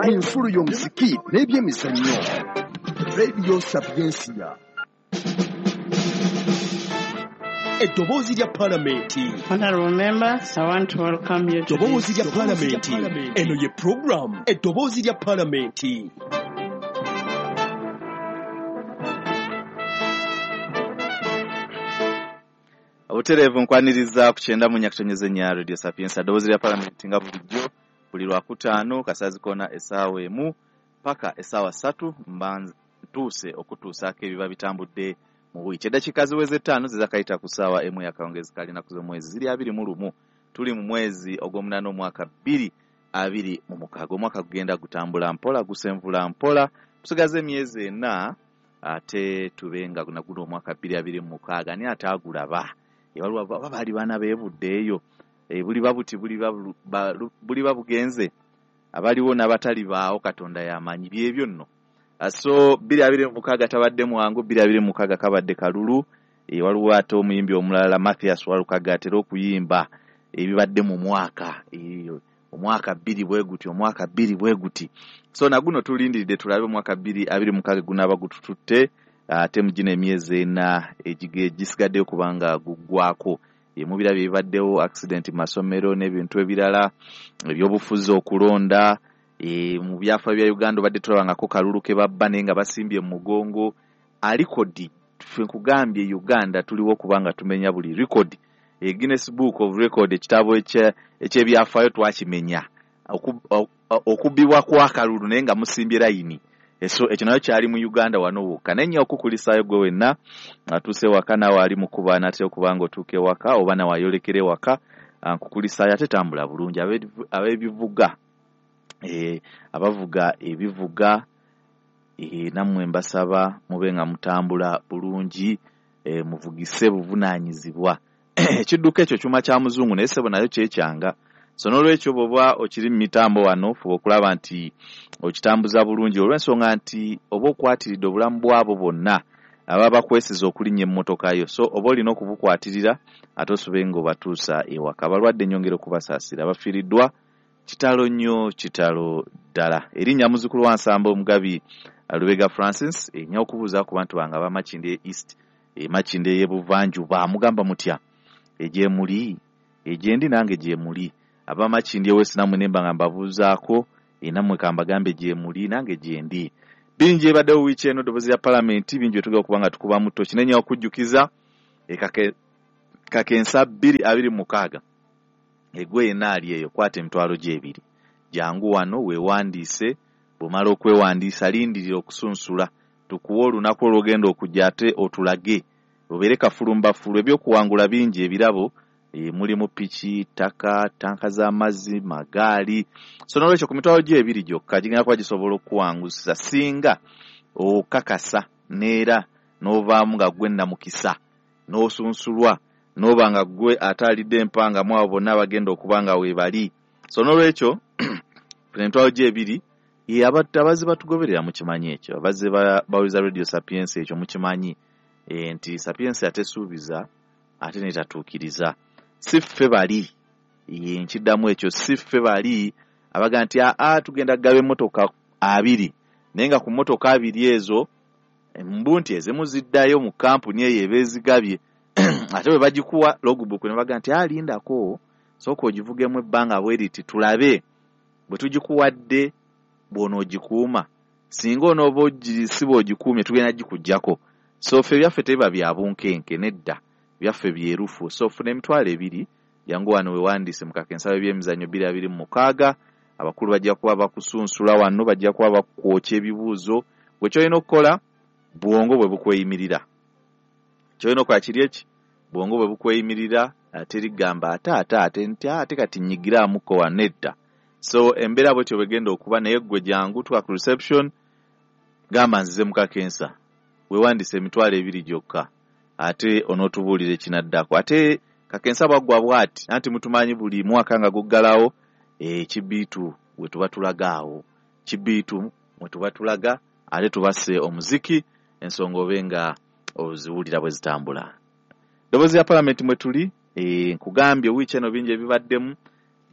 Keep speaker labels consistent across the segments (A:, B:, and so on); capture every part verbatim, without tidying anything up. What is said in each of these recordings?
A: Ensulo y'omuziki n'ebyemizannyo. Radio Sapientia. Eddoboozi lya Palamenti.
B: Honorable members, I want to welcome you to
A: Eddoboozi lya Palamenti. Eno ye program Eddoboozi lya Palamenti.
C: Obutereevu nkwaniriza ku kyenda mu nyakutonyeze nya Radio Sapientia eddoboozi lya Palamenti nga bulijjo buli lwakutaano kasazi kona essaawa emu paka essaawa ssatu mba ntuuse okutuusaako ebiba bitambudde mu wiiki. Eddakiika ziweze ttaano zizakayita ku ssaawa emu y'akawungeezi ka lunaku z'omwezi ziri abiri mu lumu. Tuli mu mwezi ogw'omunaana omwaka bbiri abiri mu mukaaga. Omwaka gugenda gutambula mpola, gusenvula mpola, tusigaze emyezi ena ate tube nga guno omwaka bbiri abiri mu mukaaga. Ani ate agulaba? Waliwo baali baana beebuddeeyo, buliba buti buliba bugenze, abaliwo n'abatali baawo Katonda y'amanyi byebyo nno. So bbiri abiri mu mukaaga tabadde mwangu, bbiri abiri mu mukaaga kabadde kalulu. Waliwo ate omuyimbi omulala Mathias Walukaga atera okuyimba ebibadde mu mwaka, omwaka bbiri bwe guti, omwaka bbiri bwe guti. So na guno tulindiridde tulabe omwaka bbiri abiri mu mukaaga gunaaba gutututte ate mu gino emyezi ena egisigaddeyo kubanga guggwako. Mubirabye ebibaddewo, accident mu masomero n'ebintu ebirala, ebyobufuzi, okulonda. Mu byafaayo bya Uganda obadde tulabangako kalulu ke babba naye nga basimbye mu mugongo. Alikodi ffe nkugambye Uganda tuliwo kubanga tumenya buli record. Guinness Book of Record, ekitabo eky'ebyafaayo twakimenya, okubbibwa kw'akalulu naye nga musimbye layini. So ekyo nayo kyali mu Uganda wano wokka. Naye nnyo okukulisaayo gwe wenna atuuse waka naawe ali mu kuba n'atera okuba nga otuuka ewaka oba nawe ayolekera ewaka, nkukulisaayo ate tambula bulungi. Ab'ebivuga, abavuga ebivuga, nammwe mbasaba mube nga mutambula bulungi, muvugise buvunaanyizibwa. Ekidduka ekyo kyuma kya muzungu naye ssebo nayo kyekyanga. So n'olwekyo bw'oba okiri mu mitambo wano fuba okulaba nti okitambuza bulungi, olw'ensonga nti oba okwatiridde obulamu bwabo bonna ababa bakwesiza okulinnya emmotoka yo. So oba olina okubukwatirira ate osube ng'obatuusa ewaka. Abalwadde nnyongera okubasaasira, abafiiriddwa kitalo nnyo, kitalo ddala. Erinnya muzzukulu wa Nsamba Omugabi Lubega Francis, nnyo okubuuza ku bantu bange ab'Amakindye East, Makindye ey'Ebuvanjuba, mugamba mutya? Egyemuli, egyendi nange gyemuli. Abamakindye West nammwe ne mba nga mbabuuzaako, nammwe kambagambe gyemuli nange gyendi. Bingi ebaddewo wiiki eno eddoboozi lya Palamenti, bingi byetugenda okuba nga tukubamu ttoki. Naye nnyo okujjukiza kakensa bbiri abiri mu mukaaga egwe yenna ali eyo, kwata emitwalo gy'ebiri, jangu wano weewandiise. Bw'omala okwewandiisa lindirira okusunsula, tukuwe olunaku olw'ogenda okujja ate otulage, obeere kafulumbafulu. Ebyokuwangula bingi, ebirabo mulimu piki, ttaka, ttanka z'amazzi, magaali. So n'olwekyo ku mitwalo gy'ebiri gyokka gigenda kuba gisobola okukuwangusa singa okakasa n'era n'ovaamu nga ggwe nnamukisa n'osunsulwa n'oba nga ggwe ate alidde empanga mu abo bonna abagenda okuba nga weebali. So n'olwekyo emitwalo gy'ebiri, abazze batugoberera mukimanyi ekyo, abazze bawuliza Radio Sapientia ekyo mukimanyi nti Sapientia tesuubiza ate netatuukiriza. Si ffe bali, nkiddamu ekyo, si ffe bali abaga nti aa tugenda kugaba emmotoka abiri, naye nga ku mmotoka abiri ezo mbu nti ezimu ziddayo mu kampuni eyo eba ezigabye, ate bwe bagikuwa logbook ne baga nti alindako sooka ogivugemu ebbanga bwe riti tulabe bwe tugikuwadde bw'onoogikuuma, singa onooba ogisiba ogikuumye tugenda gikuggyako. So ffe byaffe tebiba bya bunkenke nedda, byaffe byerufu. So funa emitwalo ebiri, jangu wano weewandiise mu kakensa w'ebyemizannyo bbiri abiri mu mukaaga. Abakulu bajja kuba bakusunsula wano, bajja kuba bakwokya ebibuuzo. Gwe ky'olina okukola, bwongo bwe bukweyimirira. Ky'olina okukola kiri eki, bwongo bwe bukweyimirira, terigamba ate ate ate nti ate kati nnyigiraamuko wano, nedda. So embeera bwetyo bwegenda okuba, naye ggwe jangu tuka ku reception, gamba nzize mu kakensa, weewandiise emitwalo ebiri gyokka, ate onootubuulira ekinaddako. Ate kakensa bwaggwa bw'ati, anti mutumanyi buli mwaka nga guggalawo, ekibiitu we tuba tulaga awo, kibiitu mwe tuba tulaga, ate tubasse omuziki, ensonga obe nga oziwulira bwe zitambula. Eddoboozi lya Palamenti mwe tuli, nkugambye wiiki eno bingi ebibaddemu,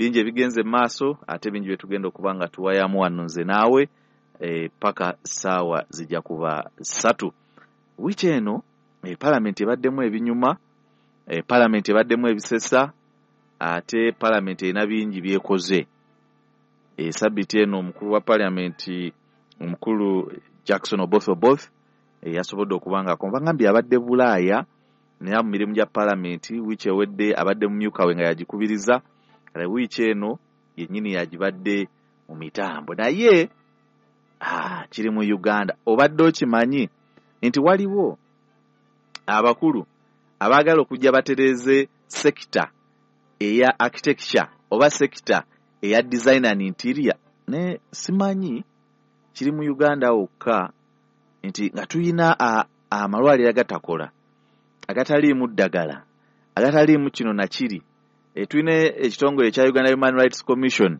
C: Bingi ebigenze maaso ate bingi bye tugenda okuba nga tuwayamu wano nze naawe e, paka ssaawa zijja kuba ssatu. Wiiki eno e, palamenti ebaddemu ebinyuma, e, palamenti ebaddemu ebisesa, ate palamenti erina bingi byekoze. E, sabiti eno omukulu wa palamenti omukulu Jackson Oboth Oboth e, yasobodde okuba nga akomba abadde Bulaaya naye mu mirimu gya palamenti. Wiiki ewedde abadde mumyuka we nga yagikubiriza, kale wiiki eno yennyini yagibadde mu mitambo. Naye ah, kiri mu Uganda. Obadde okimanyi nti waliwo abakulu abaagala okujja batereeze sekita eya architecture oba sekita eya design and interior? Ne simanyi kiri mu Uganda wokka nti nga tuyina amalwaliro agatakola, agataliimu ddagala, agataliimu kino na kiri. E, tulina ekitongole ekya Uganda Human Rights Commission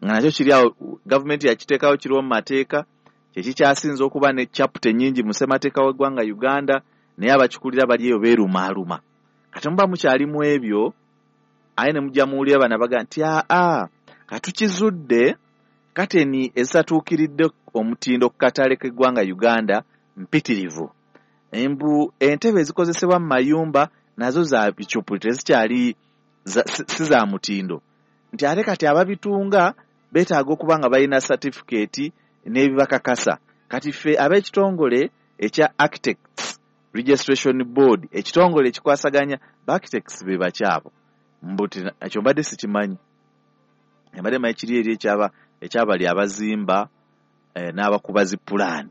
C: nga nakyo kiri awo, gavumenti yakiteekawo kiriwo mu mateeka, kyekikyasinze okuba ne chapter ennyingi mu ssemateeka w'eggwanga Uganda, naye abakikulira bali eyo beerumaaluma. Kati muba mukyalimu ebyo, aye ne mujja muwulira bano abaga nti aa katukizudde kateni ezitatuukiridde omutindo ku katale k'eggwanga Uganda mpitirivu. Embu entebe ezikozesebwa mu mayumba nazo za bicupuli, tezikyali si za mutindo. Nti ate kati ababitunga beetaaga okuba nga balina certificate n'ebibakakasa. Kati ffe ab'ekitongole ekya Architects Registration Board, ekitongole ekikwasaganya ba architects be bakyabo, mbu ekyo mbadde sikimanyi. Mbadde manyi kiri eri ekyaba ekyabali abazimba eh, n'abakuba zi pulaani.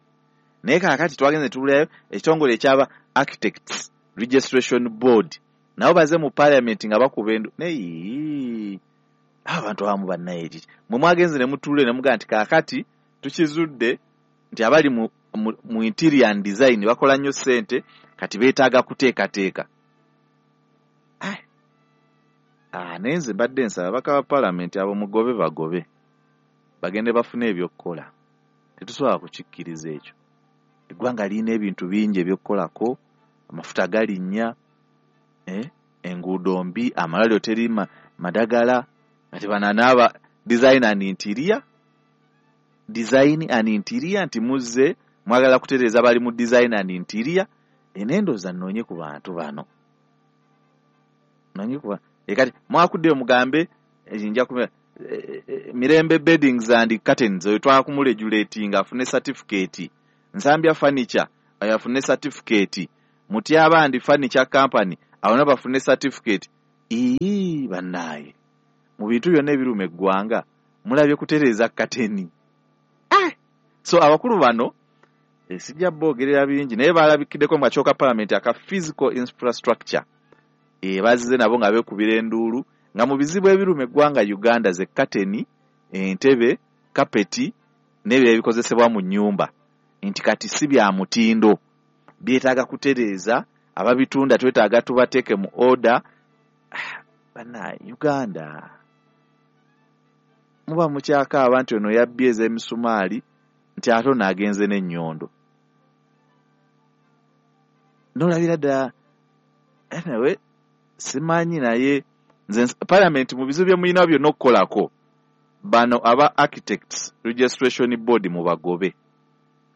C: Naye kaakati twagenze tuwulirayo ekitongole ekyaba Architects Registration Board nabo baze mu parliament nga bakuba endu. Naye abantu abamu bannaye kiki mwe mwagenze ne mutuule ne mugamba nti kaakati tukizudde nti abali mu, mu, mu interior and design bakola nnyo ssente, kati beetaaga kuteekateeka. Ah, naye nze mbadde nsaba ababaka ba palamenti abo mugobe bagobe bagende bafune ebyokukola. Tetusobola kukikkiriza ekyo. Eggwanga lirina ebintu bingi ebyokukolako, amafuta galinnya, eh, enguudo mbi, amalwaliro teri madagala. Kati bano n'aba design and interior, design and interior nti muzze mwagala kutereeza bali mu design and interior. Enendooza nnoonye ku bantu bano, noonye ku kati mwakuddeyo mugambe nja ku Mirembe Beddings and Curtains oyo twakumuregulatinga afune certificate, Nsambya Furniture oyo afune certificate, Mutyabandi Furniture Company abo nabo bafune certificate. Ii bannaaye, mu bintu byonna ebiruma eggwanga mulabye kutereeza kateni. Ah! So abakulu bano eh, sijja boogerera bingi, naye balabikiddeko mu kakiiko ka palamenti aka physical infrastructure. E, bazze nabo nga beekubira enduulu nga mu bizibu ebiruma eggwanga Uganda ze kateni, entebe, kapeti n'ebirala ebikozesebwa mu nnyumba, nti kati si bya mutindo, byetaaga kutereeza, ababitunda twetaaga tubateeke mu order. Banna Uganda muba mukyakaaba nti ono yabbye ez'emisumaali nti ate ono agenze n'ennyondo. N'olabira ddala. Anyway, simanyi, naye nze palamenti mu bizibu bye mulina byonna okukolako, bano aba Architects Registration Board mubagobe.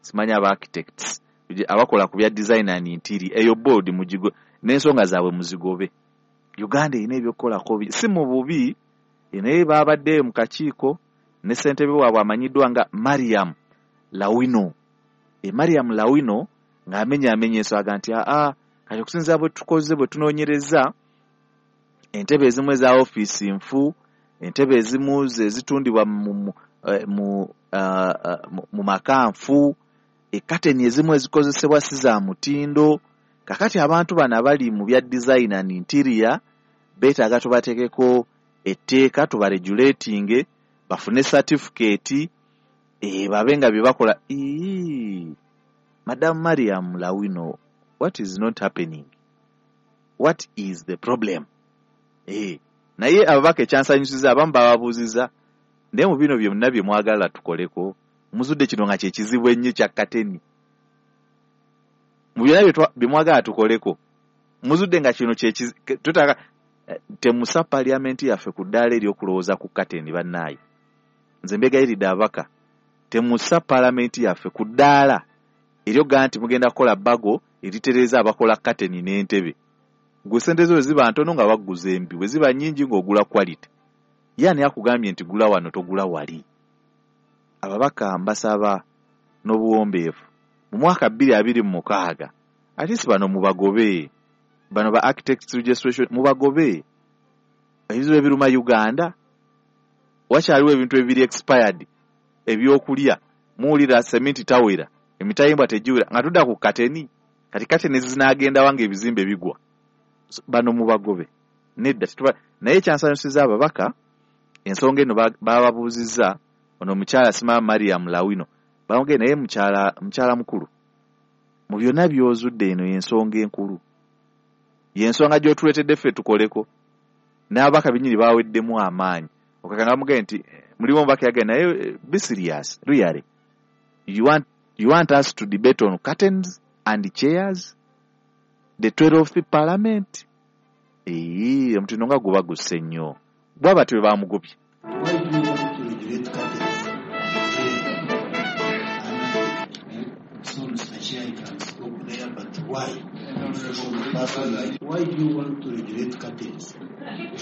C: Simanyi aba architects abakola ku bya design and interior, eyo board mugigo n'ensonga zaabwe muzigobe. Uganda erina ebyokukolako si mu bubi, naye babaddeyo mu kakiiko ne ssentebe waabwe amanyiddwa nga Mariam Lawino. E Mariam Lawino ng'amenyaamenya ensonga nti aa kati okusinziira bwe tukoze bwe tunoonyereza, entebe ezimu eza ofiisi nfu, entebe ezimu ezitundibwa mu, mu, mu, uh, mu maka nfu, ekateni ezimu ezikozesebwa si za mutindo. Kakati abantu bano abali mu bya design and interior beetaaga tubateekeko etteeka, tubaregulatinge, bafune certificate, e, babe nga bye bakola. Ii, Madam Mariam Lawino, what is not happening? What is the problem? Eh, naye ababaka ekyansanyusiza abamu bababuuziza, naye mu bino byonna bye mwagala tukoleko, muzudde kino nga kye kizibu ennyo kya kateni. Mu byonna bye mwagala tukoleko, muzudde nga kino kye twetaaga. Temusa parliament yaffe ku ddaala ery'okulowooza ku kateni bannaaye. Nze mbegayiridde ababaka, temusa parliament yaffe ku ddaala eryogaa nti mugenda kukola bbago eritereeza abakola kateni n'entebe. Gwe sente zo bwe ziba ntono nga bagguza embi, bwe ziba nnyingi ng'ogula quality. Ye ani akugambye nti gula wano togula wali? Ababaka mbasaba n'obuwombeefu mu mwaka bbiri abiri mu mukaaga at least bano mubagobe, bano ba architects registration mubagobe. Ebizibu ebiruma Uganda, wakyaliwo ebintu ebiri expired ebyokulya, muwulira seminti tawera, emitayimbwa tegiwera, nga tudda ku kateni. Kati kateni zinaagenda wange ebizimbe bigwa. So, bano mubagobe nedda tetuba. Naye ekyansanyusiza ababaka, ensonga eno bababuuzizza ono omukyala Simama Mariam Lawino, bamugende naye mukyala mukyala mukulu, mu byonna by'ozudde eno y'ensonga enkulu, y'ensonga gy'otuleetedde ffe tukoleko. N'ababaka bennyini baweddemu amaanyi. Okakanga bamugende nti mulimu omubaka yagenda naye be serious really, you want, you want us to debate on curtains and chairs, the twelfth parliament? Eee, omutindo nga guba gusse nnyo. Bwaba tebwe bamugobye.
D: Why do you want to regulate curtains? So Mister Chair, I can stop there, but why? Person like, why do you want to regulate curtains?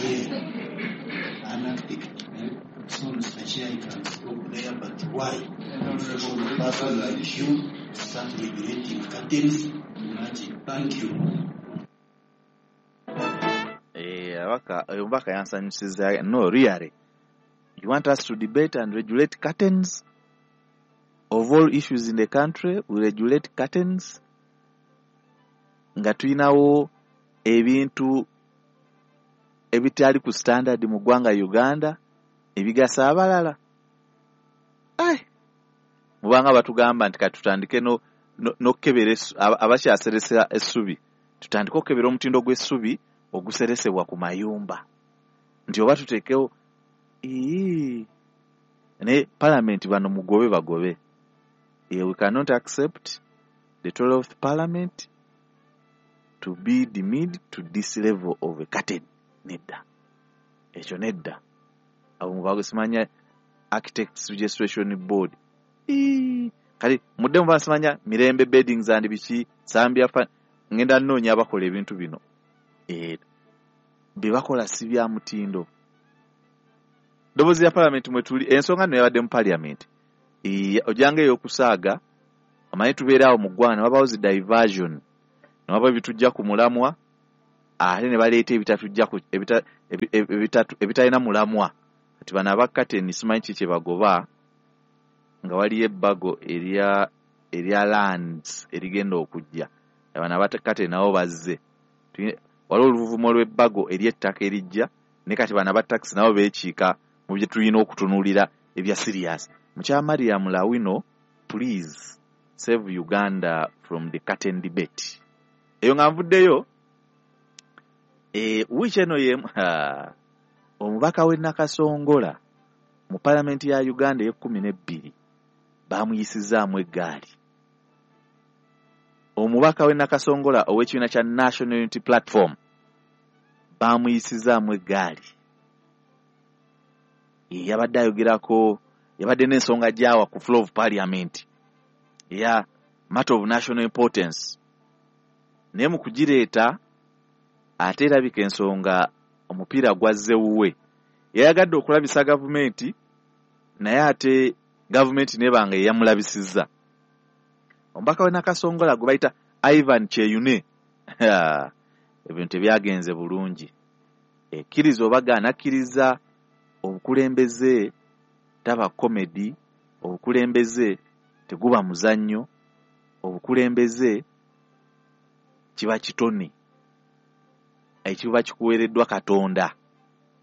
D: Yeah. An architect. So Mister Chair, I can stop there, but why? Person like you start regulating curtains? Imagine. Thank you.
C: Eh, abaka, omubaka yansanyusiza. No, really. You want us to debate and regulate curtains? Of all issues in the country, we regulate curtains? Nga tulinawo ebintu ebitali ku standard mu ggwanga Uganda ebigasa abalala. Ai, mubanga batugamba nti kati tutandike no n'okukebera abakyaseresa essubi, tutandike okukebera omutindo gw'essubi oguseresebwa ku mayumba, nti oba tuteekewo ii ne parliament bano mugobe bagobe. We cannot accept the twelfth parliament to be demeaned to this level of a curtain. Nedda, ekyo nedda. Abo mubago simanya Architects Registration Board. Ii kale mudde muba simanya Mirembe Beddings and biki Zambia fa ngenda nnoonya abakola ebintu bino. Eh, bye bakola si bya mutindo. Ddoboozi lya parliament mwe tuli, ensonga nno yabadde mu parliament. Ee, ojjanga ey'okusaaga, omanyi tubeera awo mu ggwanga ne wabaawo zi diversion, ne wabaawo ebitujja ku mulamwa, ate ne baleeta ebitatujja ku ebita, ebitatu, ebitalina mulamwa. Kati bano aba curtain simanyi ki kye bagoba, nga waliyo ebbago erya erya lands erigenda okujja. Bano aba curtain nabo bazze. Waliwo oluvuvumo lw'ebbago ery'ettaka erijja, ne kati bano aba taxi nabo beekiika mu bye tulina okutunuulira ebya serious. Mukyala Mariam Lawino, please save Uganda from the curtain debate. Eyo nga nvuddeyo, eh, wiiki eno ye omubaka w'e Nakasongola mu palamenti ya Uganda ey'ekkumi n'ebbiri baamuyisizaamu eggaali. Omubaka w'e Nakasongola ow'ekibiina kya National Unity Platform baamuyisizaamu eggaali. Yabadde ayogerako, yabadde n'ensonga gy'awa ku floor of parliament eya matter of national importance. Naye mu kugireeta ate erabika ensonga omupiira gwazze wuwe. Yayagadde okulabisa gavumenti, naye ate gavumenti n'ebanga eyamulabisizza. Omubaka w'e Nakasongola gwe bayita Ivan Kyeyune, ebintu tebyagenze bulungi. Ekkiriza oba gaana akkiriza, obukulembeze taba comedy, obukulembeze teguba muzannyo, obukulembeze kiba kitone ekiba kikuweereddwa Katonda.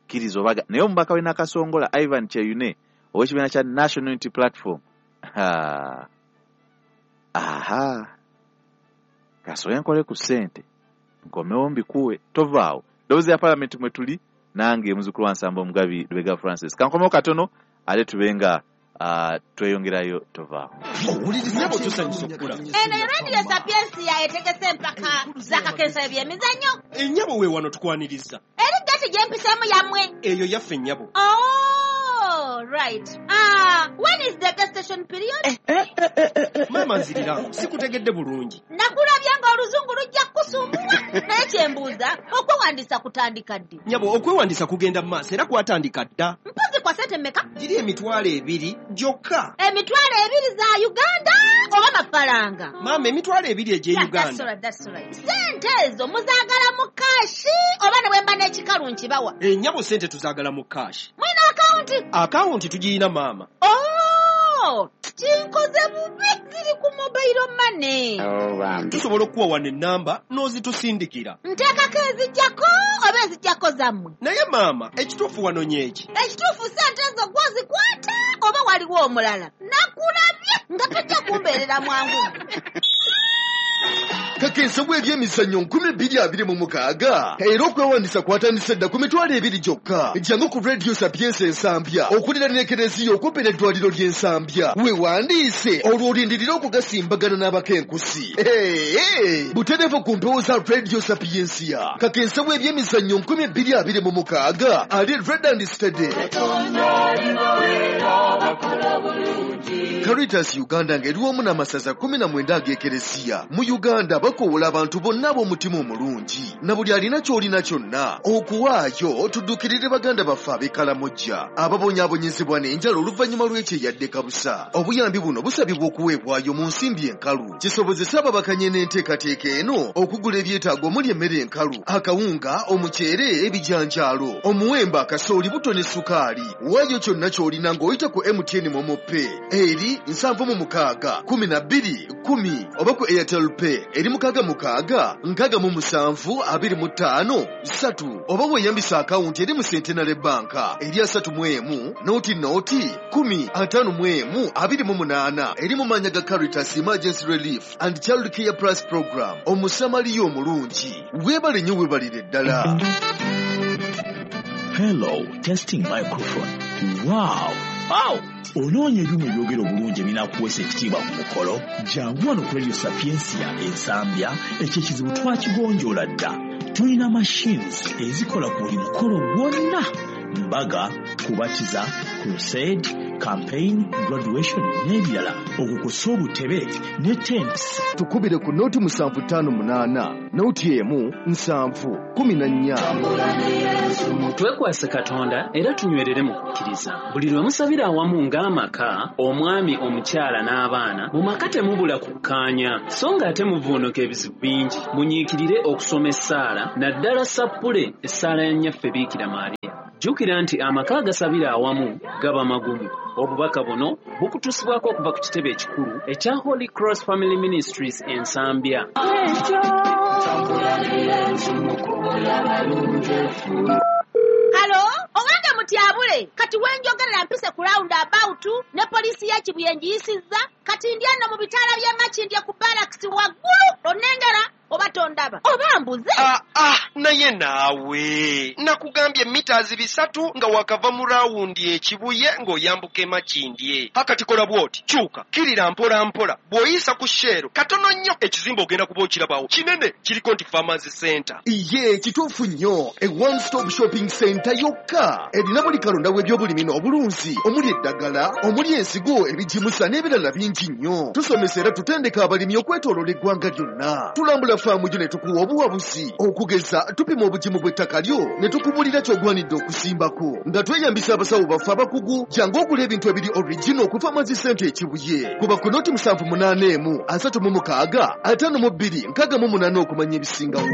C: Kkiriza oba gaana. Naye omubaka w'e Nakasongola Ivan Kyeyune ow'ekibiina kya National Unity Platform, aha, kasooke nkole ku ssente nkomewo mbikuwe, tovaawo. Ddoboozi lya palamenti mwe tuli, nange muzzukulu wa Nsamba Omugabi Lubega Francis. Kankomewo katono ate tube nga uh, tweyongerayo, tovaawo.
A: Owuliriza tusanyusa okukula.
E: Eno Radio Sapiensia etegese empaka z'akakensa eby'emizannyo.
A: Ennyabo we wano tukwaniriza.
E: Eri Geeti gye mpiseemu yammwe?
A: Eyo yaffe nnyabo.
E: Oh, right. Ah, when is the gestation period?
A: Eh, eh, eh, eh, eh. Maama nzirira, sikutegedde bulungi.
E: Nakulabye ng'oluzungu lujja kukusumbuwa. Naye kye mbuuza, okwewandiisa kutandika ddi?
A: Nnyabo, okwewandiisa kugenda mu maaso era kwatandika dda.
E: Mpozi kwa ssente mmeka?
A: Giri emitwalo ebiri gyokka.
E: Emitwalo ebiri za Uganda oba mafaranga?
A: Maama, emitwalo ebiri egy'e
E: Yeah,
A: Uganda.
E: that's all right, that's all right. Ssente ezo muzaagala mu cash oba ne bwe mba n'ekikalu nkibawa?
A: Ennyabo, ssente tuzaagala mu cash.
E: Mulina akawunti?
A: Akawunti tugiyina maama.
E: Oh, kinkoze bubi, ziri ku mobile money.
A: Tusobola okuwa wano ennamba n'ozitusindikira.
E: Nteekako ezijjako oba ezijjako zammwe?
A: Naye maama, ekituufu wano nyeeki.
E: Ekituufu ssente ezo gw'ozikwata oba waliwo omulala? Nakulabye nga tojja kumbeerera mwangu.
F: Kakensa w'ebyemizannyo nkumi bbiri abiri mu mukaaga era okwewandiisa kwatandise dda ku mitwalo ebiri gyokka. Jangu ku Radio Sapientia Ensambya okuliraana ekereziya okumpi n'eddwaliro ly'Ensambya, weewandiise olwo olindirire okugasimbagana n'abakenkusi. Hey, hey. Butereevu ku mpewo za Radio Sapientia. Kakensa w'ebyemizannyo nkumi bbiri abiri mu mukaaga ali red and steady. Caritas Uganda ng'eri wamu n'amasaza kumi na mwenda ag'ekereziya mu Uganda bakoowola abantu bonna ab'omutima omulungi na buli alina ky'olina kyonna okuwaayo tuddukirire baganda baffe ab'e Kalamojja ababonyaabonyezebwa n'enjala oluvannyuma lw'ekyeyadde kabusa. Obuyambi buno busabibwa okuweebwayo mu nsimbi enkalu kisobozese ababakanye n'enteekateeka eno okugula ebyetaago omuli emmere enkalu, akawunga, omuceere, ebijanjaalo, omuwemba, akasooli, buto ne sukaali. Waayo kyonna ky'olina ng'oyita ku M T N MoMo Pay eri nsanvu mu mukaaga kumi na bbiri kumi oba ku Airtel Pay eri mukaaga mukaaga nkaaga mu musanvu abiri mu ttaano ssatu oba weeyambisa akawunti eri mu Centenary Bank eri asatu mu emu noti noti kumi ataano mu emu abiri mu munaana eri mu maannya ga Caritas Emergency Relief and Child Care Plus Program. Omusamaliya omulungi, weebale nnyo, weebalire ddala.
G: Hello, testing microphone. Wow! Wow! Onoonya ebyuma ebyogera obulungi ebinaakuweesa ekitiibwa ku mukolo? Jangu wano ku Radio Sapientia Ensambya, ekyo ekizibu twakigonjoola dda. Tulina machines ezikola ku buli mukolo gwonna: mbaga, kubatiza, crusade, campaign, graduation n'ebirala. Okwo kw'ossa obutebe ne tents.
F: Tukubire ku noti musanvu ttaano munaana noti emu nsanvu kumi na nnya.
H: Twekwase Katonda era tunywerere mu kukkiriza. Buli lwe musabira awamu ng'amaka, omwami, omukyala n'abaana, mu maka temubula kukkaanya, so ng'ate muvuunuka ebizibu bingi. Munyiikirire okusoma essaala, naddala sappule essaala ya Nnyaffe Biikira Maria. Jjukira nti amaka agasabira awamu gaba magumu. Obubaka buno bukutuusibwako okuva ku kitebe ekikulu ekya Holy Cross Family Ministries Ensambya.
E: Halo, owange mutyabule, kati wenjogerera mpise ku round about ne poliisi ya Kibuye ngiyisizza, kati ndi eno mu bitaala by'e Makindye ku barracks waggulu, onnengera oba tondaba oba mbuze?
A: Ah, ah, naye naawe nakugambye mitazi bisatu nga wakava mu rawundi ekibuye ng'oyambuka e Makindye. Hakati kola bw'oti, kyuka, kirira mpola mpola, bw'oyisa ku Shell katono nnyo ekizimbe ogenda kuba okirabawo kinene kiriko nti Farmers Center.
F: Iye kituufu nnyo, e one stop shopping center yokka erina buli kalonda w'ebyobulimi n'obulunzi omuli eddagala, omuli ensigo, ebigimusa n'ebirala bingi nnyo. Tusomesa era tutendeka abalimi okwetooloola eggwanga lyonna. Tulambula faamu gyo ne tukuwa obuwabuzi, okugeza tupima obugimu bw'ettaka lyo ne tukubulira ky'ogwanidde okusimbako nga tweyambisa abasawo baffe abakugu. Jangu ogula ebintu ebiri original ku Farmers Center Ekibuye. Kuba ku noti musanvu munaana emu asatu mu mukaaga ataano mu bbiri nkaaga mu munaana okumanya ebisingawo.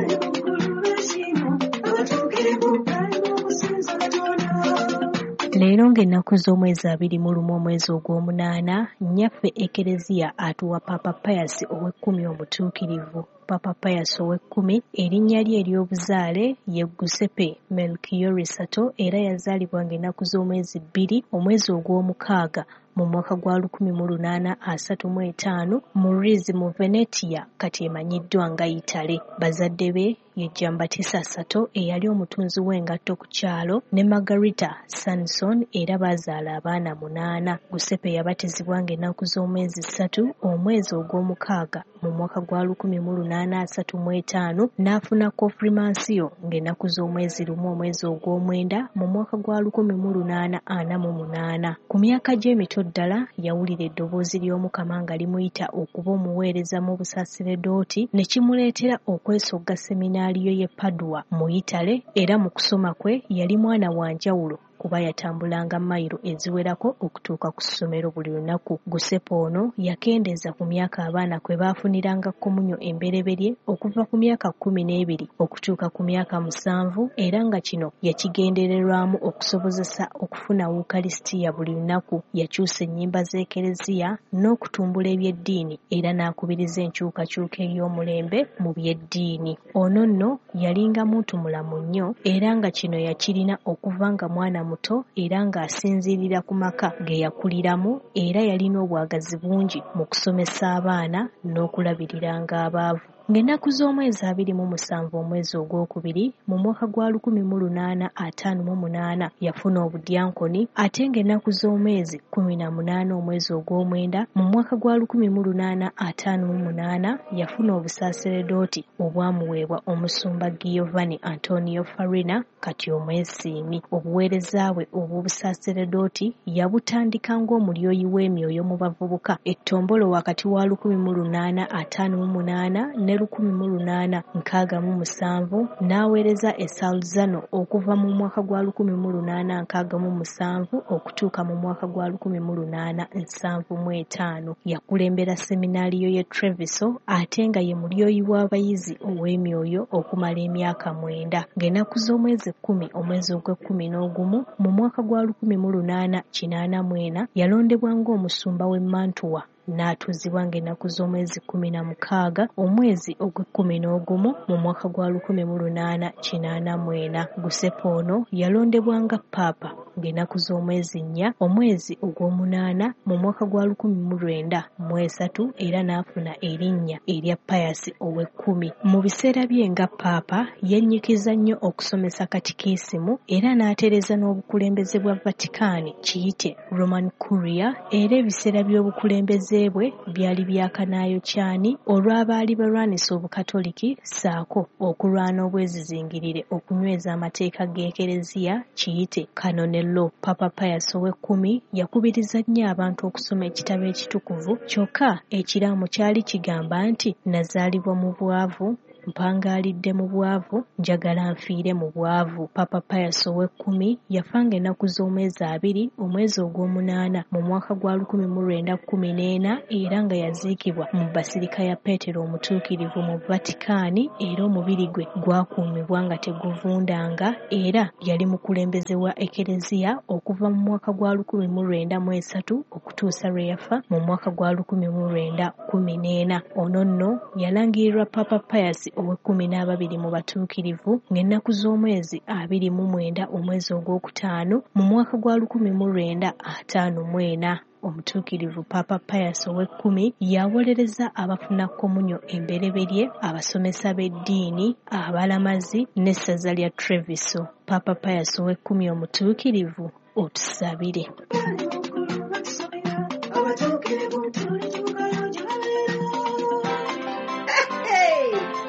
I: Leero ng'ennaku z'omwezi abiri mu lumu omwezi ogw'omunaana, nnyaffe Ekereziya atuwa Papa Pius ow'ekkumi omutuukirivu. Papa Pius ow'ekkumi erinnya lye ery'obuzaale ye Giuseppe Melchiorre Sarto era yazaalibwa ng'ennaku z'omwezi bbiri omwezi ogw'omukaaga mu mwaka gwa lukumi mu lunaana asatu mu etaano mu Rizi mu Venetia, kati emanyiddwa nga Italy. Bazadde be ye Giambattista Sato eyali omutunzi w'engatto ku kyalo ne Margherita Sanson, era bazaala abaana munaana. Giuseppe yabatizibwa ng'ennaku z'omwezi ssatu omwezi ogw'omukaaga mu mwaka gwa lukumi mu lunaana asatu mu etaano, n'afuna konfirmansiyo ng'ennaku z'omwezi lumu omwezi ogw'omwenda mu mwaka gwa lukumi mu lunaana ana mu munaana. Ku myaka gy'emito ddala yawulira eddoboozi ly'Omukama nga limuyita okuba omuweereza mu busaserdoti, ne kimuleetera okwesogga seminaariyo y'e Padua mu Italy. Era mu kusoma kwe yali mwana wa njawulo kuba yatambulanga mayiro eziwerako okutuuka ku ssomero buli lunaku. Giuseppe ono yakendeeza ku myaka abaana kwe baafuniranga komunyo embereberye okuva ku myaka kkumi n'ebiri okutuuka ku myaka musanvu, era nga kino yakigendererwamu okusobozesa okufuna Wukalisitiya buli lunaku. Yakyusa ennyimba z'Ekereziya n'okutumbula eby'eddiini, era n'akubiriza enkyukakyuka ey'omulembe mu by'eddiini. Ono nno yalinga muntu mulamu nnyo, era nga kino yakirina okuva nga mwana muto, era ng'asinziirira ku maka ge yakuliramu, era yalina obwagazi bungi mu kusomesa abaana n'okulabiriranga abaavu. Ng'ennaku z'omwezi abiri mu musanvu omwezi ogwokubiri mu mwaka gwa lukumi mu lunaana ataano mu munaana yafuna obudyankoni, ate ng'ennaku z'omwezi kkumi na munaana omwezi ogw'omwenda mu mwaka gwa lukumi mu lunaana ataano mu munaana yafuna obusaaseredooti obwamuweebwa omusumba Giovanni Antonio Farina, kati omwesiimi. Obuweereza bwe obw'obusaaseredooti yabutandika ng'omulyoyi w'emyoyo mu bavubuka ettombolo wakati wa lukumi mu lunaana ataano mu munaana ne lukumi mu lunaana nkaaga mu musanvu, n'aweereza e Salzano okuva mu mwaka gwa lukumi mu lunaana nkaaga mu musanvu okutuuka mu mwaka gwa lukumi mu lunaana nsanvu mu etaano. Yakulembera seminaariyo y'e Treviso, ate nga ye mulyoyi w'abayizi ow'emyoyo okumala emyaka mwenda. Ng'ennaku z'omwezi kkumi omwezi ogw'ekkumi n'ogumu mu mwaka gwa lukumi mu lunaana kinaana mu ena yalondebwa ng'omusumba w'e Mantua, n'atuuzibwa ng'ennaku z'omwezi kkumi na mukaaga omwezi ogw'ekkumi n'ogumu mu mwaka gwa lukumi mu lunaana kinaana mu ena. Giuseppe ono yalondebwa nga Paapa ng'ennaku z'omwezi nnya omwezi ogw'omunaana mu mwaka gwa lukumi mu lwenda mu esatu, era n'afuna erinnya erya Pius ow'ekkumi. Mu biseera bye nga Paapa yennyikiza nnyo okusomesa katikisimu, era n'atereeza n'obukulembeze bwa Vatikani kiyite Roman Curia, era ebiseera by'obukulembeze bwe byali byakanaayokyani olw'abaali balwanisa Obukatoliki ssaako okulwana obwezizingirire okunyweza amateeka g'Ekereziya kiyite Canon Law. Papa Pius ow'ekkumi yakubiriza nnyo abantu okusoma ekitabo ekitukuvu, kyokka ekiraamo kyali kigamba nti nazaalibwa mu bwavu, mpangaalidde mu bwavu, njagala nfiire mu bwavu. Papa Pius ow'ekkumi yafanga ennaku z'omwezi abiri omwezi ogw'omunaana mu mwaka gwa lukumi mu lwenda kkumi n'ena, era nga yaziikibwa mu Basirika ya Peetero Omutuukirivu mu Vatikani, era omubiri gwe gwakuumibwa nga teguvundanga. Era yali mukulembeze wa Ekereziya okuva mu mwaka gwa lukumi mu lwenda mu esatu okutuusa lwe yafa mu mwaka gwa lukumi mu lwenda kkumi n'ena. Ono nno yalangirirwa Papa Pius ow'ekkumi n'ababiri mu batuukirivu ng'ennaku z'omwezi abiri mu mwenda omwezi ogwokutaano mu mwaka gwa lukumi mu lwenda ataano mu ena. Omutuukirivu Papa Pius ow'ekkumi yawolereza abafuna komunyo embereberye, abasomesa b'eddiini, abalamazi n'essaza lya Treviso. Papa Pius ow'ekkumi omutuukirivu, otusabire.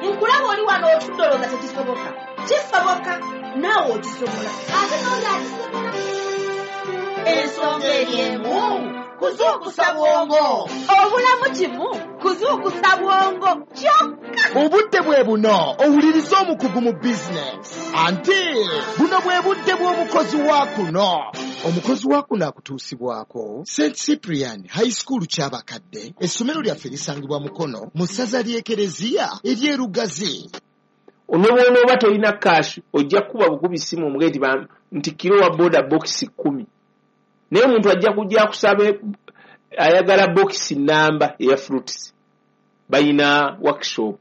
E: Nkulaba oli wano otudde olowooza tekisoboka. Kisoboka, naawe okisobola, ate n'oli akisobola. Ensonga eri emu, kuzuukusa bwongo. Obulamu kimu, kuzuukusa bwongo kyokka.
J: Obudde bwe buno owuliriza omukugu mu bizinesi, anti buno bwe budde bw'omukozi wa kuno. Omukozi wa kuno akutuusibwako Saint Cyprian High School Kyabakadde. Essomero lyaffe lisangibwa Mukono mu ssaza ly'Ekereziya ery'e Lugazi.
K: Ne bw'onooba tolina kaasi ojja kukuba bukubi ssimu omuge nti nti kiro wa boda bokisi kkumi, naye omuntu ajja kujja akusaba ayagala bokisi namba eya fruits. Balina workshop,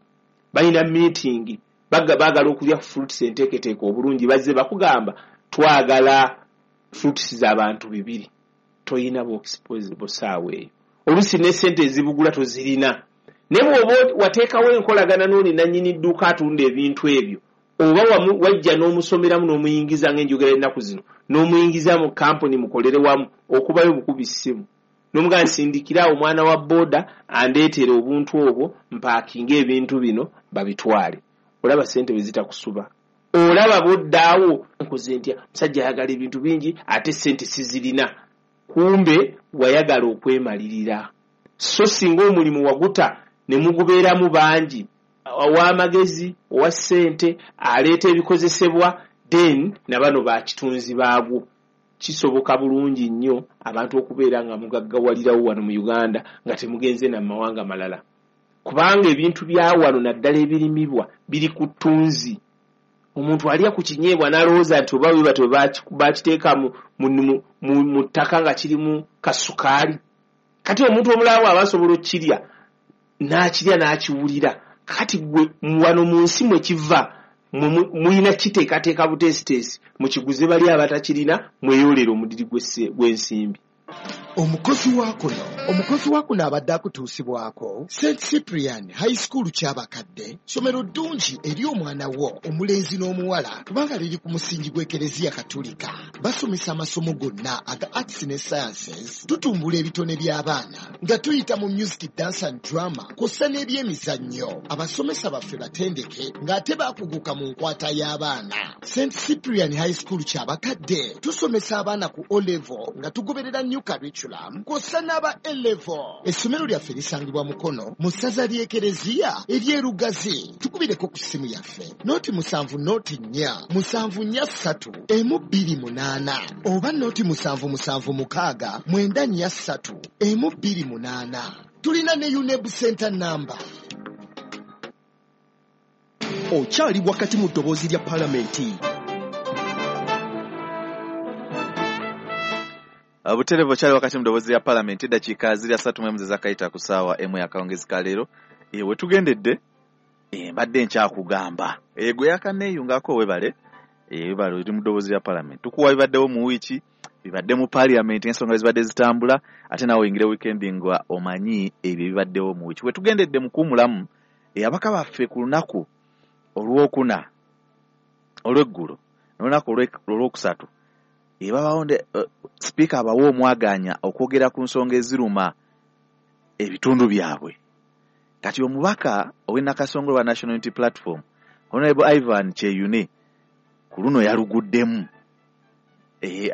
K: balina meeting, baagala okulya fruits enteeketeeke obulungi, bazze bakugamba twagala fruits z'abantu bibiri. Toyina bw'exposable ssaawa eyo. Oluusi ne ssente ezibugula tozirina. Naye bw'oba wateekawo enkolagana n'oli nannyini dduuka atunda ebintu ebyo, oba wajja n'omusomeramu n'omuyingiza ng'enjogera ennaku zino, n'omuyingiza mu kampuni mukolere wamu, okubayo bukubi ssimu. N'omugamba nsindikira omwana wa booda andeetere obuntu obwo mpaakinge ebintu bino babitwale. Olaba ssente bwe zitakusuba. Olaba bw'oddaawo nkoze ntya, musajja ayagala ebintu bingi ate ssente sizirina. Kumbe wayagala okwemalirira. So singa omulimu waguta ne mugubeeramu bangi, ow'amagezi, owa ssente, aleeta ebikozesebwa, then na bano bakitunzi baagwo. Kisoboka bulungi nnyo abantu okubeera nga mugaggawalirawo wano mu Uganda nga temugenze na mawanga malala. Kubanga ebintu bya wano naddala ebirimibwa biri ku ttunzi. Omuntu alya ku kinyeebwa n'alowooza nti oba bwe batyo bakiteeka mu, mu, mu, mu ttaka nga kirimu kasukaali. Kati omuntu omulala bw'aba asobola okukirya, n'akirya n'akiwulira. Kati gwe wano mu nsi mwe kiva, mulina kiteekateeka buteesiteesi, mukiguze bali abatakirina, mweyoolere omudiri gw'ensimbi.
J: Omukozi wa kuno omukozi wa kuno abadde akutuusibwako Saint Cyprian High School Kyabakadde, ssomero ddungi eri omwana wo omulenzi n'omuwala kubanga liri ku musingi gw'Ekereziya Katolika. Basomesa amasomo gonna aga arts ne sciences, tutumbula ebitone by'abaana nga tuyita mu music, dance and drama kw'ossa n'ebyemizannyo. Abasomesa baffe batendeke ng'ate baakuguka mu nkwata y'abaana. Saint Cyprian High School Kyabakadde tusomesa abaana ku O level nga tugoberera new curriculum kw'ossa n'aba A level. Essomero lyaffe lisangibwa Mukono mu ssaza ly'Ekereziya ery'e Lugazi. Tukubireko ku ssimu yaffe noti musanvu noti nnya musanvu nnya ssatu emu bbiri munaana oba noti musanvu musanvu mukaaga mwenda nnya ssatu emu bbiri munaana. Tulina ne UNEB Center number.
A: Okyali wakati mu ddoboozi lya Palamenti.
C: Butereevu okyali wakati mu ddoboozi lya Palamenti, eddakiika ziri asatu mu emu ze zakayita ku ssaawa emu y'akawungeezi ka leero. E, we tugendedde e, mbadde nkyakugamba e, gwe yakanneeyungako webale e, webale oli mu ddoboozi lya Palamenti. Tukuwa bibaddewo mu wiiki, bibadde mu Palamenti, ensonga zibadde zitambula, ate naawe oyingire wiikendi nga omanyi ebyo ebibaddewo mu wiiki. We tugendedde mu kuwummulamu, e, ababaka baffe ku lunaku olwokuna olw'eggulo n'olunaku olwokusatu ebabawo uh, sipiika abawa omwaganya okwogera ku nsonga eziruma ebitundu byabwe. Kati omubaka ow'e Nakasongola wa National Unity Platform Honorable Ivan Kyeyune ku luno yaluguddemu. E,